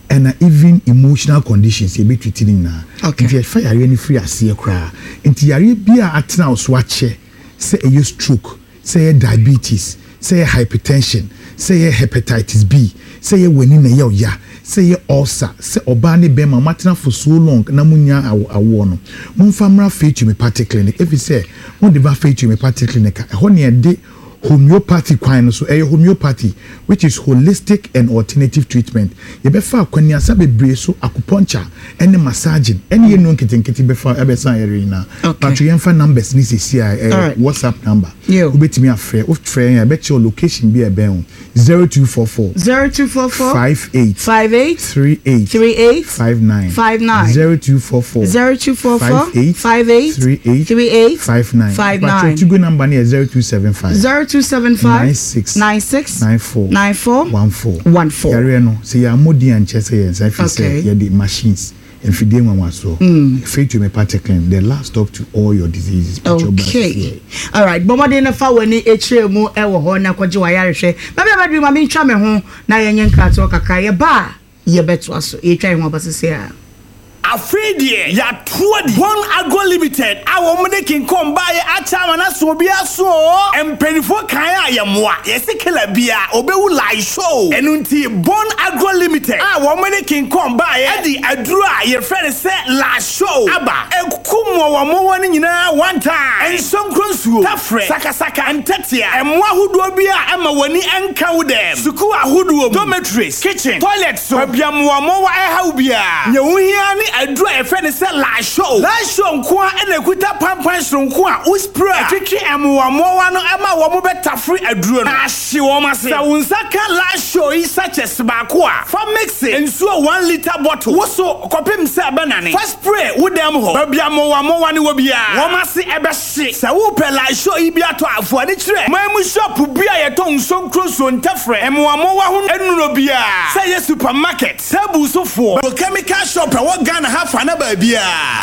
L: ɛna even emotional conditions yɛbɛ treat ne nyinaa. Nti yɛfa yareɛ no firi aseɛ koraa. Nti yareɛ biara a atena wo so akyɛ, sɛ ɛyɛ stroke, sɛ ɛyɛ diabetes, sɛ ɛyɛ hypertension, sɛ ɛyɛ hepatitis B, sɛ ɛyɛ w'ani na ɛyɛ wo ya, sɛ ɛyɛ ulcer, sɛ ɔbaa ne bɛrima moatena for so long na monnya awoɔ no, momfa mmra Faith Homeopathic Clinic ɛfiri sɛ mode ba Faith Homeopathic Clinic a, ɛhɔ na yɛde Homeopathy kwan no so, ɛyɛ homeopathy which is holistic and alternative treatment. Yɛbɛfa akwaniasa bebree so, acupuncture ɛne massaging ɛne yɛn nnuro nketenkete bɛfa ɛbɛsa yareɛ nyinaa. Patro yɛnfa numbers no seesei a ɛyɛ WhatsApp number. Wobɛtumi afrɛ, wofrɛ yɛn a yɛbɛkyerɛ wo location bi a ɛbɛn wo. 0244.
A: 0244.
L: 58.
A: 58.
L: 38.
A: 38.
L: 59.
A: 59.
L: 0244.
A: 0244.
L: 58.
A: 58.
L: 38.
A: 38.
L: 59.
A: 59.
L: Patro Tigo number no yɛ 0275.
A: 0275.
L: 96.
A: 96.
L: 94.
A: 94.
L: 14.
A: 14.
L: Yareɛ no, sɛ yɛammɔ din ankyerɛ sɛ yɛn nsa ɛfiri sɛ yɛde machines. Mfidie nwanwasoɔ. Faith Homeopathic Clinic, the last stop to all your diseases.
A: Okay. All right. Bɔ mmɔden na fa w'ani kyerɛ mu wɔ hɔ na kɔgye w'ayarehwɛ. Baabi a bɛduru ma mentwa me ho na yɛnyɛ nkratoɔ kakra. Yɛba a yɛbɛtoa so. Yɛtwa yɛn ho aba sese a.
M: Afei deɛ yɛato adi. Bon Agro Limited a wɔn de King Kong baeɛ akyɛ ama no aso obiara so oo. Mpaninfoɔ kan a yɛmmoa, yɛse killer biara ɔbɛwu lie show. Ɛno nti Bon Agro Limited a wɔn de King Kong baeɛ de aduro a yɛfrɛ no sɛ La Show aba. Ɛku mmoawammoawa no nyinaa one time. Nsonkro nsuo, tafrɛ, sakasaka, ntɛtea, mmoa ahodoɔ bi a ɛma w'ani nka wo dɛm, sukuu ahodoɔ mu, dormitories, kitchen, toilet so, baabi a mmoawammoawa ɛha wo biara. Nea wohia ara ne aduro a yɛfrɛ no sɛ La Show. La Show nko ara na ɛkuta pampan soronko a wo spray a, ɛtwetwe mmoawammoawa no ma wɔbɛtafere aduro no na ahye wɔn ase. Sɛ wo nsa ka La Show yi sachets baako a, fa mixe nsuo one litre bottle wo so kɔpem sɛ ɛbɛnane. Fa spray wo dan mu hɔ, baabi a mmoawammoawa no wɔ biara, wɔn ase bɛhye. Sɛ wopɛ La Show yi bi atɔ a, fa w'ani kyerɛ man mu shop bi a yɛtɔn nsuo nkuro ntɛfrɛ, mmoawammoawa ho nnuro biara, sɛ ɛyɛ supermarket, table so foɔ, chemical shop a ɛwɔ Ghana ha fa na baabiara.